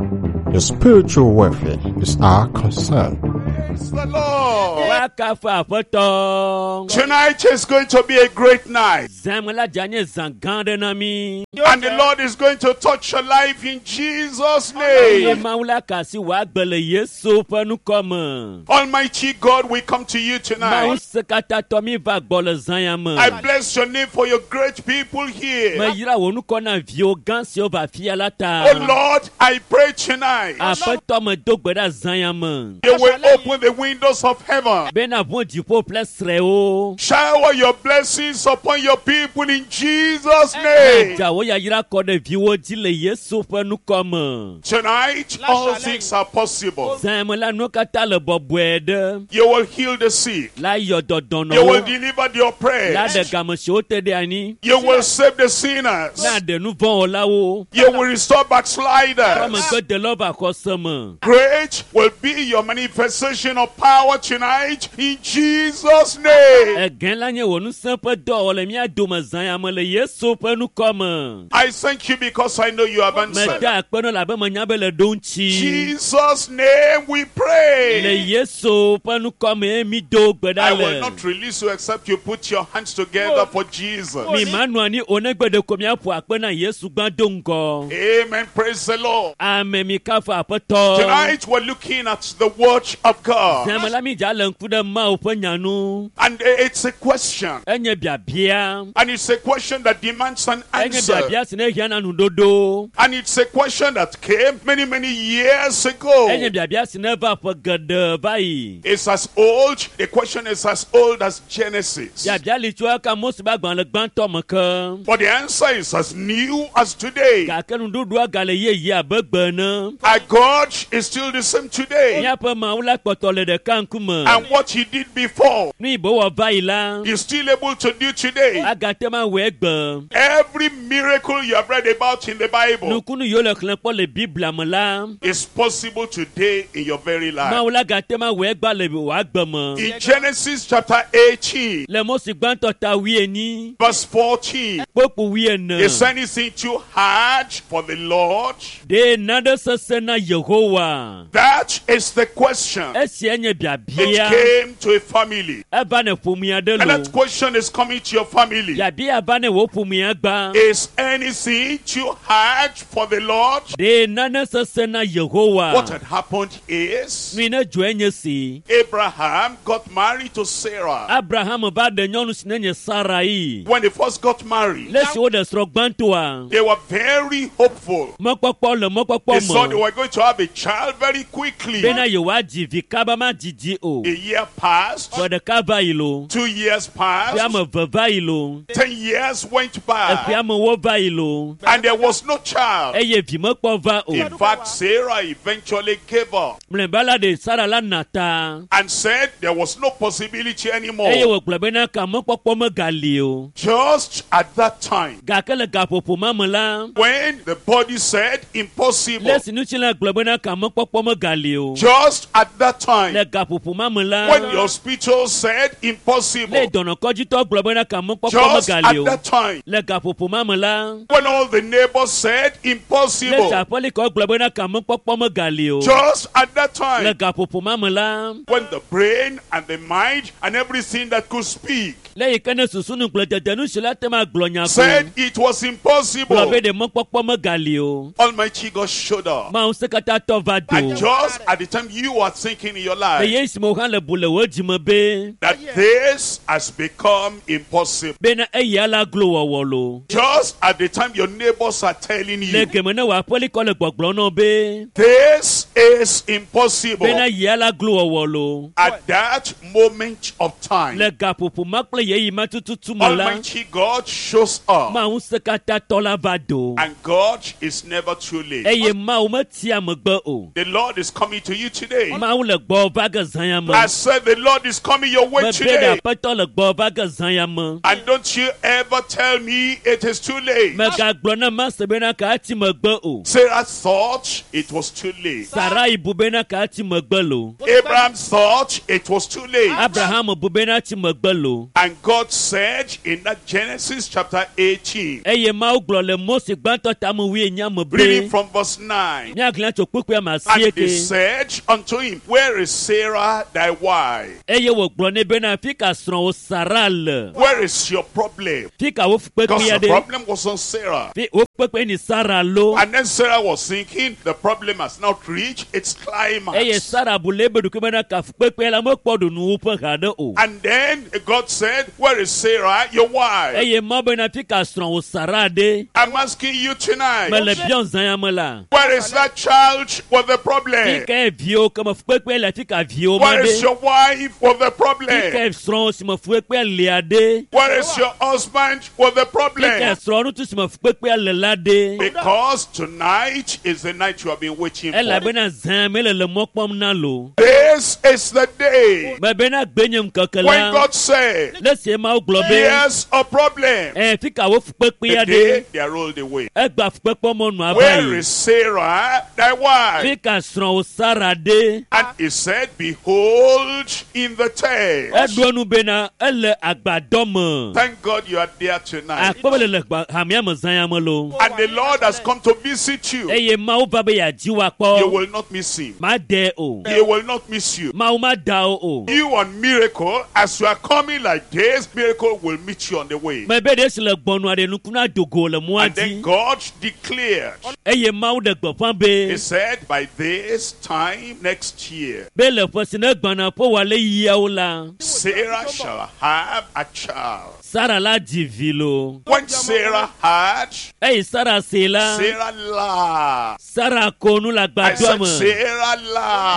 Your spiritual welfare is our concern. Praise the Lord. Woakafu Aƒetɔ. Tonight is going to be a great night. Zãme la dza nye zã gã aɖe na mí. And the Lord is going to touch your life in Jesus' Eye name. Mawu la ka asi wò agbe le Yesu ƒe ŋkɔ me. Almighty God, we come to you Mawu tonight. sekatãtɔ mi va gbɔ le zã ya me. I bless your name for your great people here. Meyra wò ŋkɔ na viwò gã siwo va fia la ta. Oh Lord, I pray tonight. Aƒetɔ me do gbe ɖa zã ya me. You will open the windows of heaven. Bena ʋu dziƒo ƒe srɛwo. Shower your blessings upon your people in Jesus' name. Dza wò yayra kɔ ɖe viwò dzi le Yesu ƒe ŋkɔ me. Tonight, all things are possible. Zã ya me la nuwo katã le bɔbɔe ɖe. You will heal the sick. La yɔ You will dɔdɔnɔwo. deliver the La ɖe oppressed. game siwo te ɖe anyi. You will save the sinners. Na ɖe nu vɔ̃ wɔlawo. You will restore backsliders. Amegbe va xɔse me. Great will be your manifestation of power tonight in Jesus' name. Egẽ la nye wò ŋusẽ ƒe dɔwɔwɔ le mía dome zã ya me le Yesu ƒe ŋkɔ me. I thank you because I know you have answered. Meda akpe nɔ labe menya be le ɖo ŋuti. Jesus' name we Le pray. Yesu ƒe ŋkɔ mee mi do gbe I ɖa will le. not release you except you put your hands together for Jesus. Mi ma nɔ anyi o negbe ɖeko miaƒo akpe na Yesu gbã do ŋgɔ. Amen. Praise the Lord. Ame mi kafu Aƒetɔ. Tonight we're looking at the word of God. Zãme la mi dza le ŋku ɖe Mawu ƒe nya nu. And it's a question. Enye biabia. And it's a question that demands an Enye answer. biabia si ne hiã na nuɖoɖo. And it's a question that came many, many years ago. Enye biabia si ne va ƒe geɖe va yi. It's as old, the question is as old as Genesis. Biabia li tso eka Mose ƒe agbalẽ gbãtɔ me ke. But the answer is as new as today. Gake nuɖuɖua gale yeye abe gbe ene. Our God is still the same today. Míaƒe Mawu la kpɔtɔ le ɖeka ŋkume. And what he did before, Nu yi be wɔ va yi la, he's still able to do today. agate ma wɔe gbe. Every miracle you have read about in the Bible Nukunu yiwo le xlẽ kpɔ le Biblia me la, is possible today in your very life. Mawu la gate ma wɔe gba le wò agbe me. In Genesis chapter 18, Le Mose gbãtɔ ta wuienyi, verse 14, kpokpo wuiene. is anything too hard for the Lord? Ɖe nane sesẽ na Yehowa? That is the question. Esia nye It biabia. came to a family. Eva ne ƒomea ɖe And lo. that question is coming to your family. Biabia va ne wò ƒomea gbã. Is anything too hard for the Lord? Ɖe nane sesẽ na Yehowa? What had happened is Nu yi ne dzɔe nye si. Abraham got married to Sarah. Abraham va ɖe nyɔnu si ne nye Sarai. When they first got married, Le esi woɖe srɔ̃ gbãtɔa, they were very hopeful. mɔkpɔkpɔ le They mɔkpɔkpɔ thought they me were going to have a child very quickly. bena yewoadzi vi kaba madidi o. A year passed, Ƒe ɖeka va yi lo, 2 years ƒe passed, ame eve va yi lo, 10 years went eƒe by, amewo va yi lo, and there was no child. eye vi mekpɔ va o. In fact, Sarah eventually gave up Mlɔeba la ɖe Sara la na ta and said there was no possibility eye anymore. wògblɔ bena ka mɔkpɔkpɔ megali o. Just at that time, Gake le gaƒoƒo ma me la, when the body said impossible, le esi ŋutilã gblɔ bena ka mɔkpɔkpɔ megali o. just at that time, Le gaƒoƒo ma me la, when the hospital said le impossible, dɔnɔkɔdzitɔ gblɔ bena ka mɔkpɔkpɔ just at megali o. that time, Le gaƒoƒo ma me la, when all the neighbors said le impossible, aƒelikɔ gblɔ bena ka mɔkpɔkpɔ megali o. just at that Le time, gaƒoƒo ma me la, when the brain and the mind and everything that could speak le yi ke ne susu nugblẽdede nu si la te ma gblɔ nya ko. said it was Gblɔ impossible, be ɖe mɔkpɔkpɔ megali o. Almighty God showed up. Mawu sekatãtɔ va do. And just at the time you are thinking in your Le life ye esime wo hã le bu le wò dzime be that this has become impossible, bena eya la glo wɔwɔ lo. just at the time your neighbors are telling Le you geme ne wò aƒelikɔ le gbɔgblɔ nɔ be this is impossible. Bena yia la glo wɔwɔ lo. At that moment of time, Le gaƒoƒo ma kple yeyi ma tututu me la, Almighty God shows up. Mawu ŋusẽkatãtɔ la va do. And God is never too late. Eye Mawu metia megbe o. The Lord is coming to you today. Mawu le gbɔ va ge zã ya me. I said the Lord is coming your way Mebe ɖe today. aƒetɔ le gbɔ va ge zã ya me. And don't you ever tell me it is too late. Megagblɔ na mase bena ka ati megbe o. Sarah thought it was too late. Sarai bu bena ka ati megbe lo. Abraham thought it was too late. Abraham bu bena ati megbe lo. And God said in that Genesis chapter 18, Eye Mawu gblɔ le Mose gbãtɔ tame wuienyi me reading be from verse 9. míaxlẽ tso kpukpui ame And asieke. they said unto him, Where is Sarah thy wife? Eye wògblɔ nɛ bena fi ka srɔ̃wò Sara le. Where is your problem? Fi ka wo Because fukpekpea the ɖe. problem was on Sarah. Fi wo fukpekpe ni Sara lo. And then Sarah was thinking, the problem has not reached its Eye climax. Sara bu le ebe ɖokui bena ka fukpekpea la mekpɔ ɖu nuwuƒe haɖe o. And then God said, Where is Sarah, your wife? Eye Mawu bena fi ka srɔ̃wò Sara ɖe. I'm asking you tonight, Mele biɔ zã ya me la. where is that child with the Fi problem? ka viwo ke me fukpekpe le fi ka viwo ma Where is ɖe. your wife with the Fi problem? ka srɔ̃wò si me fukpekpea lia ɖe. Where is your husband with the Fi ka problem? srɔ̃ŋutsu si me fukpekpea le la ɖe. Because tonight is the night you have been waiting for. Elabena zã me le le mɔ kpɔm na lo. This is the day Mebena gbe nye ŋkeke when la. God said, Le sie Mawu gblɔ be. Here's a problem. Ɛ fi ka wo fukpekpea The day ɖe. they are rolled away. Egba fukpekpe mɔnu ava Where yi. is Sarah, thy wife? Fi ka srɔ̃wò Sara ɖe. And he said, Behold, in the tent. Eɖo enu bena ele agbadɔ me. Thank God you are there tonight. Akpɔ be le le gba- hamea me zã ya me lo. And the Lord has come to visit you. Eye Mawu va be yeadzi wò You akpɔ. will not miss him. Ma de o. He will not miss you. Mawu ma da o o. You on miracle, as you are coming like this, miracle will meet you on the way. Mebe ɖe si le gbɔnua ɖe nukuna dogo le mɔa And then dzi. God declared, Eye Mawu ɖe gbeƒã be He said, by this time next year, be le ƒe si ne gbɔna ƒe wòale yiawo la, Sarah shall have a child. Sara la dzi vi lo. When Sarah had, Eye Sara se la, Sarah laughed. Sara ko nu le I agbadɔa said, me. Sarah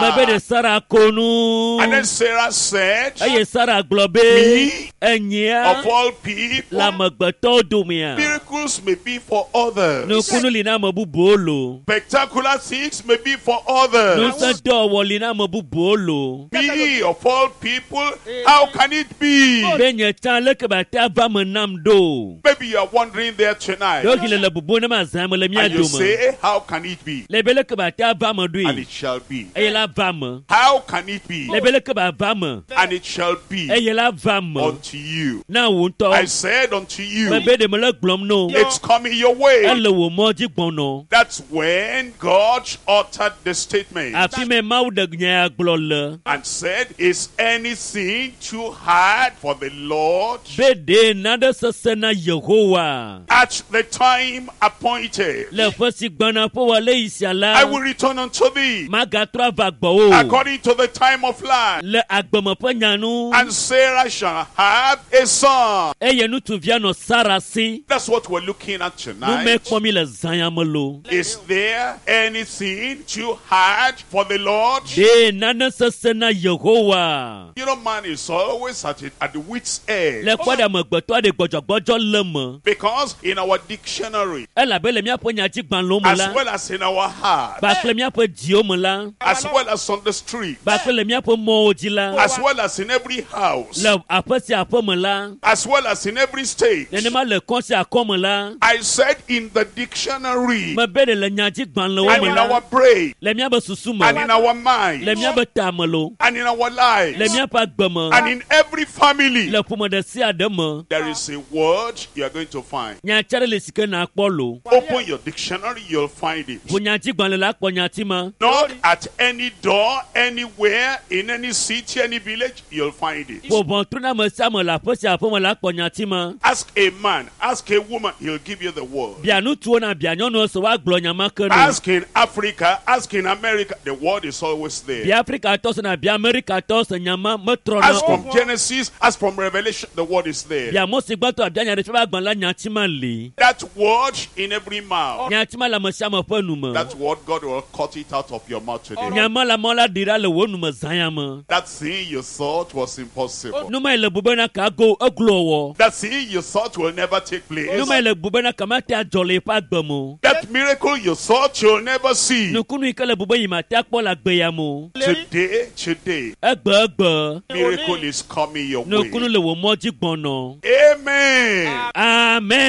Mebe ɖe laughed. Sara ko nu. And then Sarah said, Eye Sara gblɔ be Me, enyia of all le people, amegbetɔwo domea. miracles may be for others. Nukunu li na ame bubuwo lo. Spectacular things may be for others. Ŋusẽ dɔwɔwɔ li na ame bubuwo lo. Me, of all people, how can it be? Be nye tsã leke ba te ava me nam ɖo. Maybe you are wondering there tonight. Ɖewohĩ le le bubu ne ma zã me le mía And you dome. say, how can it be? Le be leke ba te ava me And ɖoe. it shall be. Eye la va me. How can it be? Le be leke ba va me. And it shall be Eye la va me. unto you. Na wò I ŋutɔ. said unto you, Mebe ɖe mele gblɔm no. it's coming your way. Ele wò mɔ dzi gbɔnɔ. That's when God uttered the statement Afi me Mawu ɖe nya ya gblɔ le. and said, Is anything too hard for the Lord? Be ɖe naɖe sesẽ na Yehowa. At the time appointed, Le ƒe si gbɔna ƒe wòale yi sia la. I will return unto thee Magatrɔ ava gbɔwò. according to the time of life. Le agbeme ƒe nya nu. And Sarah shall have a son. Eye ŋutsuvia nɔ Sara si. That's what we're looking at Nu me tonight. kpɔm mi le zã ya me lo. Is there anything too hard for the Lord? Ɖe nane sesẽ na Yehowa. You know, man is always at the wit's edge. Le kpɔ ɖe amegbetɔ ɖe gbɔdzɔgbɔdzɔ le me. Because in our dictionary, Elabe le míaƒe nyadzigbalẽwo me as la, well as in our heart, kpakple míaƒe dziwo me la, as well as on the street, kpakple le míaƒe mɔwo dzi la, as well as in every house, le aƒe sia aƒe me la, as well as in every state. nenema le kɔ sia kɔ me la, I said in the dictionary mebe ɖe le nyadzigbalẽwo and me in la, our brain le míaƒe susu me, and in our mind le míaƒe tame lo, and in our le lives míaƒe agbe me, and in every family, le ƒome ɖe sia ɖe me. there is a word you are going to find. Nyatsi aɖe le si ke nakpɔ lo. Open your dictionary, you'll find it. Ʋu nyadzigbalẽ la kpɔ nyati ma. Knock at any door, anywhere, in any city, any village, you'll find it. Ƒo ʋɔtru na ame sia ame le aƒe sia aƒe me la kpɔ nyati ma. Ask a man, ask a woman, he'll give you the word. Bia ŋutsuwo na bia nyɔnuwo se woagblɔ gblɔ nya ma ke no. Ask in Africa, ask in America, the word is always there. Bia Afrikatɔ se na bia Amerikatɔ se nya ma metrɔna Ask o. from Genesis, ask from Revelation, the word is there. Bia Mose gbãtɔ abia nya ɖe fia be agbalẽ la nyati ma li. That word in every mouth. Nyati ma le ame sia ame ƒe nu me. That word, God will cut it out of your mouth today. Nya ma le amewo la ɖi ɖa le wò nu me zã ya me. That thing you thought was impossible. Nu ma yi le bu bena ka go eglo wɔ. That thing you thought will never take place. Nu ma yi le bu bena ka mate adzɔ le yeƒe agbe me o. That miracle you thought you'll never see. Nukunu yi ke le bu be yi mate akpɔ le agbe ya me o. Today, today, Egbe egbe. miracle is coming your Nukunu way. le wò mɔ dzi gbɔnɔ. Amen. I'm going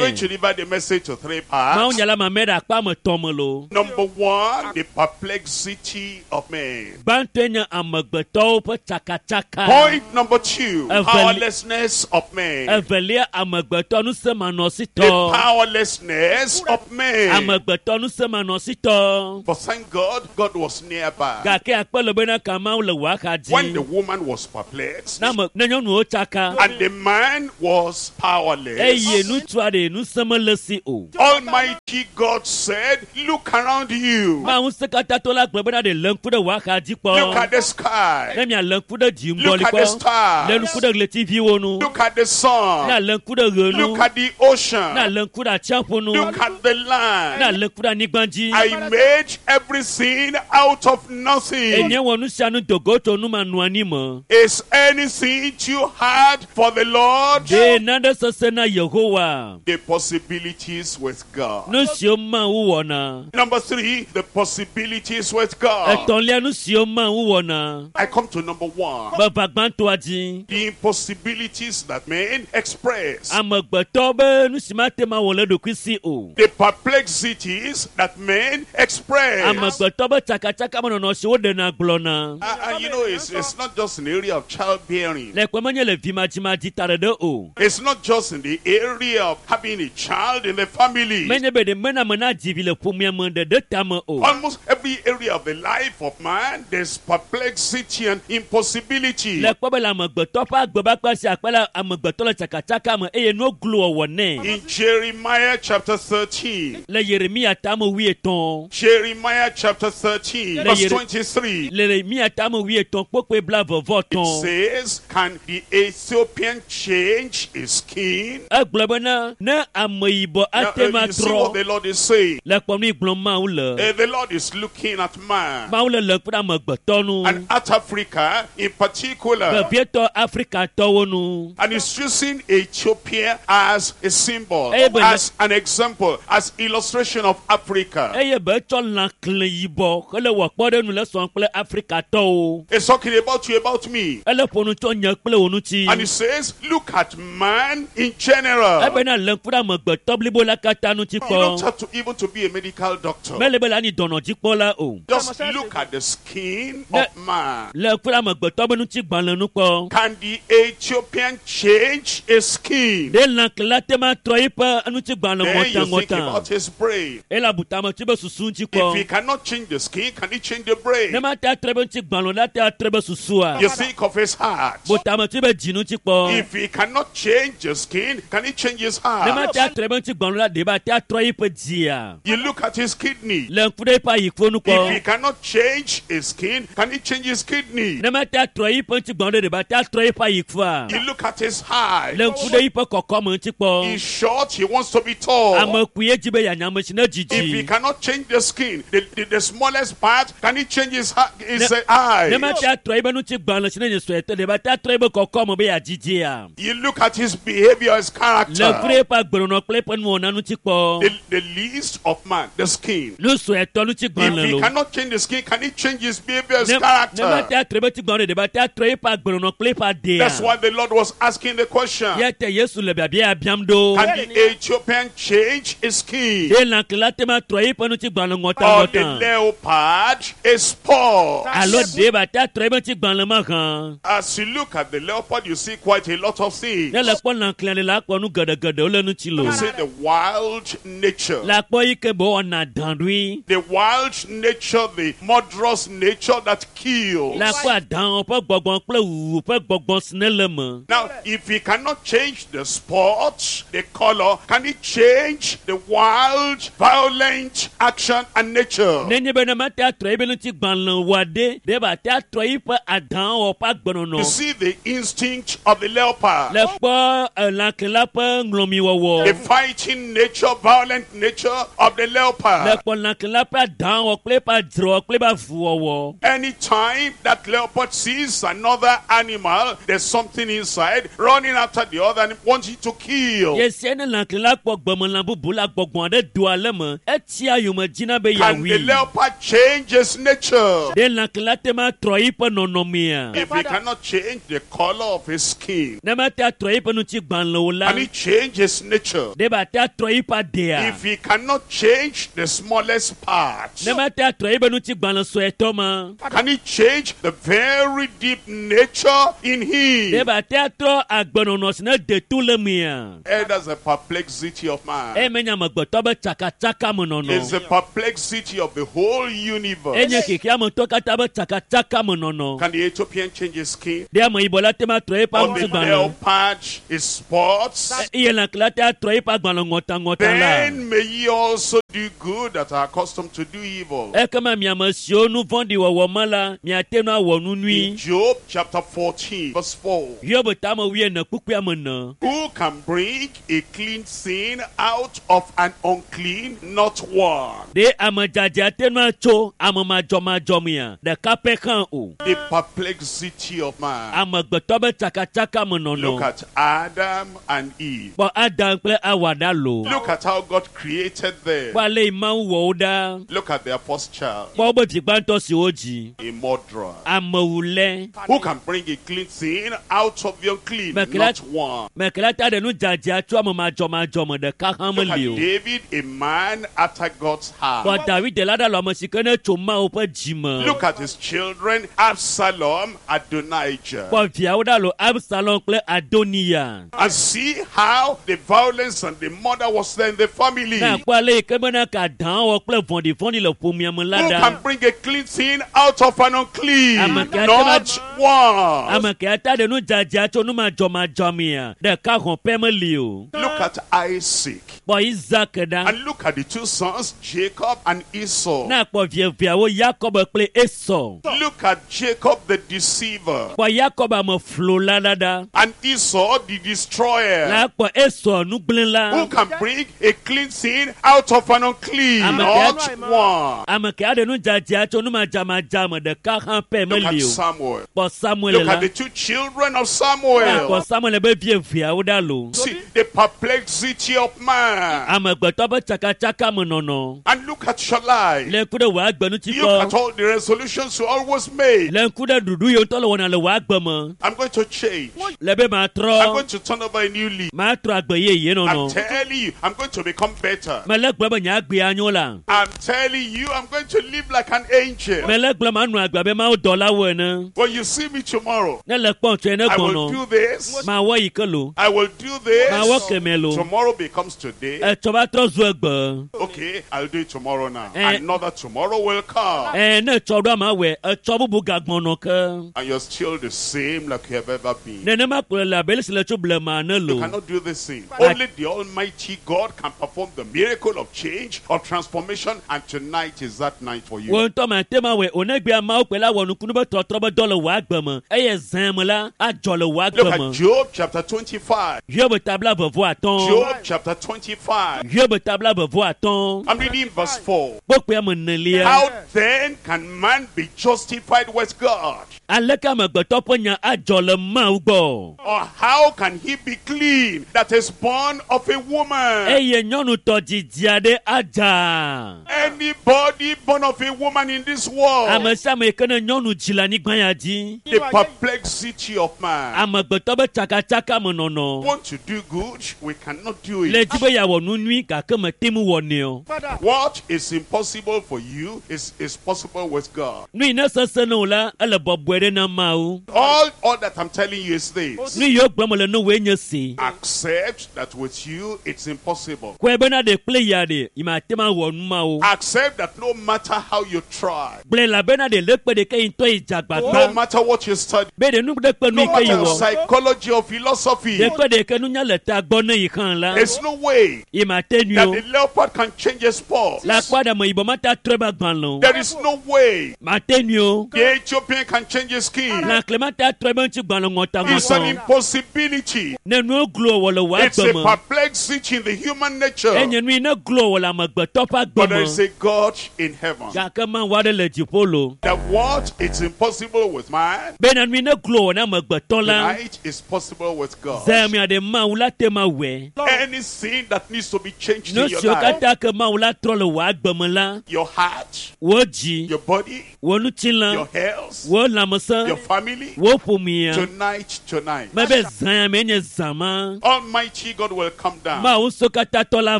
Amen. to divide the message to three Mawu parts. nya la ma mɛ ɖe akpa ame tɔn me lo. Number one, the perplexity of man. Gbãtɔe nye amegbetɔwo ƒe tsakatsaka. Point number two, Evel- powerlessness of man. Evelia amegbetɔ The nusemanɔsitɔ. powerlessness of man. Amegbetɔ nusemanɔsitɔ. But thank God, God was nearby. Gake akpe le bena ka Mawu le wò axa When the dzi. woman was perplexed Ne ame ne nyɔnuwo tsaka and the man was eye powerless, ŋutsua ɖe ŋusẽ mele si o. Almighty God said, Look around you. Mawu ŋusẽkatãtɔ la gblɔ bena ɖe lé ŋku ɖe wò axa dzi Look kpɔ. at the sky. Ne mialé ŋku ɖe dziŋgɔli Look at the kpɔ. Lé stars. ŋku ɖe ɣletiviwo ŋu. Look at the Ne sun. alé ŋku ɖe ɣe ŋu. Look at the Ne ocean. alé ŋku ɖe atsiaƒu ŋu. Look at the Ne land. alé ŋku ɖe anyigba dzi. I made everything out of nothing. Enye wɔ nu sia nu dogo tso nu ma nu anyi me. Is anything too hard for the Lord? Ɖe nane sesẽ na Yehowa. The possibilities with God. Nu siwo Mawu wɔna. Number three, the possibilities with God. Etɔ̃lia nu siwo Mawu wɔna. I come to number one. Meva gbãtɔa dzi. The impossibilities that men express. Amegbetɔ be nu si mate ma wɔ le ɖokui si o. The perplexities that men express. Amegbetɔ be tsakatsaka menɔnɔ si woɖena gblɔna. And you know, it's not just in the area of childbearing. Le kpe menye le vimadzimadzĩ ta ɖeɖe o. It's not just in the area of having a child in the family. Menye be ɖe mena ame nadzi vi le ƒomea me ɖeɖe tame o. Almost every area of the life of man, there's perplexity and impossibility. Le kpɔ be le amegbetɔ ƒe agbe be akpa sia akpa la amegbetɔ le tsakatsaka me eye nuwo glo wɔwɔ nɛ. In Jeremiah chapter 13, Le Yeremia tame wuietɔ̃. Jeremiah chapter 13, Le verse Yere- 23, Le Yeremia tame wuietɔ̃ kpokpoe blaeve-vɔ it tɔ̃. says, Can the Ethiopian change his skin? Egblɔ bena ne ameyibɔ Now, ate ma you see what trɔ the Lord is saying. le kpɔ nu yi gblɔm Mawu le. The Lord is looking at man. Mawu le le ŋku ɖe amegbetɔ nu. And at Africa in particular. Vevietɔ Afrikatɔwo nu. And he's using Ethiopia as a symbol, Amen. as an example, as illustration of Africa. Eye be etsɔ lã kle yibɔ hele wɔ kpɔɖeŋu le sɔm kple Afrikatɔwo. He's talking about you, about me. Ele ƒo nu tso nye kple wò ŋuti. And he says, look at man in general. Ebena le ŋku ɖe amegbetɔ blibo la katã ŋuti You don't kpɔ. have to even to be a medical doctor. Mele be le anyi dɔnɔdzikpɔla o. Just look at the skin Ne- of man. Le ŋku ɖe amegbetɔ be ŋutigbalẽ nu kpɔ. Can the Ethiopian change his skin? Ɖe lãkle te ma trɔ eƒe ŋutigbalẽ Then you think ŋɔtaŋɔta. about his brain. Ele abu tame tso be susu ŋuti If he kpɔ. cannot change the skin, can he change the brain? Ne ma te atrɔ ebe ŋutigbalẽ o, la te atrɔ ebe susua. You think of his heart. Bu tame tso ebe dzi ŋuti kpɔ. If he cannot change the skin, can he change his Ne ma heart? te atrɔ ebe ŋutigbalẽ o la, ɖe be ate atrɔ eƒe dzia. You look at his kidney. Le ŋku ɖe eƒe ayiƒo nu If he kpɔ. cannot change his skin, can he change his kidney? Ne ma te atrɔ eƒe ŋutigbalẽ o ɖe, ɖe be ate atrɔ eƒe ayiƒoa. You look at his height. Le ŋku ɖe eƒe kɔkɔme ŋuti kpɔ. He's short, he wants to be tall. Ame kpuie dzi be yeanya ame si ne If he dzidzi. cannot change the skin, the smallest part, can he change his, his Ne- eye? Ne ma te atrɔ ebe ŋutigbalẽ si ne nye suetɔ, ɖe be ate atrɔ ebe kɔkɔme be yeadzidzia. You look at his behavior, his Le ŋku character. ɖe eƒe agbenɔnɔ kple eƒe nuwɔna ŋuti kpɔ. The least of man, the skin. Nu suetɔ If ŋutigbalẽ he lo. cannot change the skin, can he change his behavior, his Ne ne ma character? te atrɔ ebe ŋutigbalẽ o, ɖe be ate atrɔ eƒe agbenɔnɔ kple eƒe adea. That's why the Lord was asking the question. Ya te Yesu le biabia biam ɖo. Can the Ethiopian change his skin? Ɖe lãkle te ma trɔ eƒe ŋutigbalẽ Or the ŋɔtaŋɔta. leopard is spot? Alo ɖe be ate atrɔ eƒe ŋutigbalẽ ma hã. As you look at the leopard, you see quite a lot of things. Ne le kpɔ lãkle le la kpɔ nu geɖegeɖewo le ŋuti lo. You see the wild nature. Le akpɔ yi ke be wɔna dã ɖoe. The wild nature, the murderous nature that kills. Le akpɔ adãwo ƒe gbɔgbɔ kple wuwu ƒe gbɔgbɔ si ne le me. Now, if he cannot change the spot, the color, can he change the wild violent action and nature? Nenye be ne mate atrɔ ebe ŋutigbalẽ wɔa ɖe, ɖe ba te atrɔ yiƒe adãwɔwɔ ƒe agbenɔnɔ. You see the instinct of the leopard, Le kpɔ elãkela ƒe ŋlɔmiwɔwɔ. the fighting nature, violent nature of the Le leopard. kpɔ lãkela ƒe adãwɔwɔ kple eƒe adzrewɔ kple eƒe avuwɔwɔ. Anytime that leopard sees another animal, there's something inside running after the other and wanting to kill. Yesia ne lãkela kpɔ gbemelã bubu la gbɔgbɔ aɖe doa le me, etsia yome dzina be Can the yeawui. leopard change his nature? Ɖe lãkela te ma trɔ yiƒe nɔnɔmea? If he cannot change the color of his skin, Ne mate atrɔ yiƒe ŋutigbalẽ o la, can he change his nature? ɖe ba te atrɔ yiƒe adea? If he cannot change the smallest part, Ne mate atrɔ yiƒe ŋutigbalẽ suetɔ ma, can he change the very deep nature in ɖe him? ba te atrɔ agbenɔnɔ si ne de to le mea? That's the perplexity of man. Eye menye amegbetɔ be tsakatsaka me It's nɔnɔ. the perplexity of the whole universe. Enye xexeametɔ katã be tsakatsaka me nɔnɔ. Can the Ethiopian change his skin? Ɖe ameyibɔ la te ma trɔ eƒe Or the ŋutigbalẽ? leopard his spots? Eye lãkela te atrɔ eƒe agbalẽ ŋɔtaŋɔta la. Then may ye also do good that are accustomed to do evil. Ekema miame siwo nu vɔ̃ɖi wɔwɔ me la, miate ŋu awɔ nu In nyui. Job chapter 14, verse 4. Hiob tame wuiene kpukpui ame ene. Who can bring a clean sin out of an unclean? Not one. Ɖe ame dzadzɛ ate ŋu atso ame madzɔmadzɔ mea? Ɖeka pɛ hã o. The perplexity of man. Amegbetɔ be tsakatsaka me Look nɔnɔ. at Adam and Eve. Kpɔ Adam kple Awa ɖa loo. Look at how God created them. Kpɔ ale yi Mawu wɔ wo ɖa. Look at their first child, Kpɔ wobe vi gbãtɔ si wodzi. a murderer. Amewulɛ. Who can bring a clean sin out of the unclean? But Not one. Mekela ta ɖe nu dzadzɛ tso ame madzɔmadzɔ me ɖeka hã Look at meli o. David, a man after God's Kpɔ heart. David la ɖa le ame si ke ne tso Mawu ƒe dzi me. Look at his children, Absalom, Adonijah. Kpɔ viawo ɖa lo Absalom kple Adoniya. And see how the violence and the murder was there in the family. Ne akpɔ ale yi ke bena ka dãwɔ kple vɔ̃ɖivɔ̃ɖi le ƒomea me la Who ɖa. can bring a clean sin out of an unclean? Ame ke Not one. Ame ke ata ɖe nu dzadzɛ tso nu madzɔmadzɔ mea, ɖeka hɔn pɛ meli o. Look at Isaac. Kpɔ Isaac ɖa. And look at the two sons, Jacob and Esau. Ne akpɔ vieviawo Yakob kple Esau. Look at Jacob the deceiver Kpɔ Yakob ame flola la ɖa. and Esau the destroyer. La kpɔ Esau nugblẽla. Who can bring a clean sin out of an unclean? Ame Not ke- one. Ame ke aɖe nu dzadzɛ tso nu madzamadza me ɖeka hã pɛ Look at meli o. Samuel. Kpɔ Samuel Look la. at the two children of Ne akpɔ Samuel. Samuel be vieviawo ɖa lo. See the perplexity of man. Amegbetɔ ƒe tsakatsaka me nɔnɔ. And look at your life. Le ŋku ɖe wò agbe ŋuti Look at kpɔ. all the resolutions you always make. Le ŋku ɖe ɖuɖu yi ŋutɔ le wɔna le wò agbe me. I'm going to change. Le be I'm matrɔ. going to turn over a new leaf. Matrɔ agbe yeye I'm nɔnɔ. telling you, I'm going to become better. Mele gblɔ be nye agbea nyo la. I'm telling you, I'm going to live like an angel. Mele gblɔ manɔ agbe abe Mawu dɔlawo ene. When you see me tomorrow, Ne le kpɔm tsoe ne I will gbɔnɔ. do this. Mawɔ yi ke lo. I will do Mawɔ this. kemɛ lo. Tomorrow becomes today. Etsɔ va trɔ zu egbe. Okay, I'll do it tomorrow now. Eh. Another tomorrow will come. Ɛ ne etsɔ ɖo ama wɔe, etsɔ bubu gagbɔnɔ ke. And you're still the same like you have ever been. Nenema kplɔe le abe ale si le tso blema ene You lo. cannot do this thing. Only the Almighty God can perform the miracle of change, of transformation, and tonight is that night for you. Wo ŋutɔ mate ma wɔe o negbea Mawu kpe la wɔ nukunu be trɔtrɔ be dɔ le wò agbe me eye zã me la adzɔ le wò Look agbe at me. Job chapter 25. Hiob tabla vevɔ atɔ̃. Job chapter 25. Hiob tabla vevɔ atɔ̃. I'm reading verse 4. Kpokpoe ame enelia. How then can man be justified with God? Aleke amegbetɔ ƒe nya adzɔ le Mawu gbɔ? Or how can he be clean that is born of a woman? Eye nyɔnutɔ didi aɖe adza. Anybody born of a woman in this world, Ame sia ame yi ke ne nyɔnu dzi le anyigba ya dzi. the perplexity of man. Amegbetɔ be tsakatsaka me nɔnɔ. Want to do good, we cannot do Le it. dzi be yeawɔ nu nyui gake mete ŋu wɔnɛ o. What is impossible for you is possible with God. Nu yi ne sesẽ na wò la, ele bɔbɔe ɖe na Mawu. All that I'm telling you is this. Nu yiwo gblɔm le ne wòe nye si. Accept that with you it's impossible. Kɔe bena ɖe kple ya ɖe, yi mate ŋu awɔ nu mawo. Accept that no matter how you try, Gblɔe elabena ɖe le kpe ɖeke yi ŋutɔ yi dze no agbagba. matter what you study, Be ɖe nu ɖe kpe nu no yi ke yi matter wɔ. psychology or philosophy, Ɖe kpe ɖeke nunya le tagbɔ ne yi hã la, there's no way yi mate nui that o. the leopard leopard can change his spots. Le akpa ɖe me yibɔ mate atrɔ ebe agbalẽ o. There is no way Mate nui o. the Ethiopian can change his skin. Lãkle mate atrɔ ebe ŋutigbalẽ It's an ŋɔtaŋɔtɔ. impossibility. Ne nuwo glo wɔ le wò It's a agbe me. perplexity in the human nature. Enye nu yi ne glo wɔ le amegbetɔ ƒe agbe But there is me. a God in heaven. Gake Mawu aɖe le dziƒo lo. That what it's impossible with man, Bena nu yi ne glo wɔ na amegbetɔ la. tonight is possible with God. Zãmea ɖe Mawu la te ma wɔe. Anything that needs to be changed Nu in your siwo life, katã ke Mawu la trɔ le wò agbe me la, your heart, wò dzi, your body, wò ŋutilã, your health, wò lãmesẽ, your family, wò ƒomea. tonight, tonight, Mebe zã ya mee nye zã ma. Almighty God will come down. Mawu sokatãtɔ la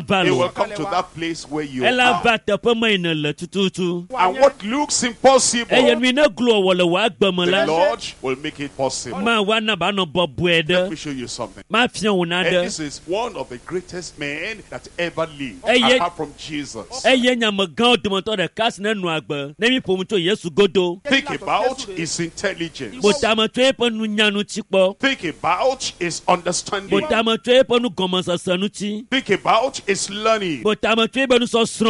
va He will lo. come to that place where you Ela are. va teƒe me yi nèle tututu. And what looks impossible, Eye nu yi ne glo wɔ le wò agbe me the la, Lord will make it possible. Mawu ana be anɔ bɔbɔe Let ɖe. me show you something. Mafia wò And naɖe. this is one of the greatest men that ever lived, Eye- apart from Jesus. Eye nye amegãwo dometɔ ɖeka si ne nɔ agbe ne mi ƒo nu tso Yesu godo. Think about his intelligence. Botame tso eƒe nunya ŋuti kpɔ. Think about his understanding. Botame tso eƒe nugɔmesese ŋuti. Think about his learning. Botame tso eƒe nusɔsrɔ̃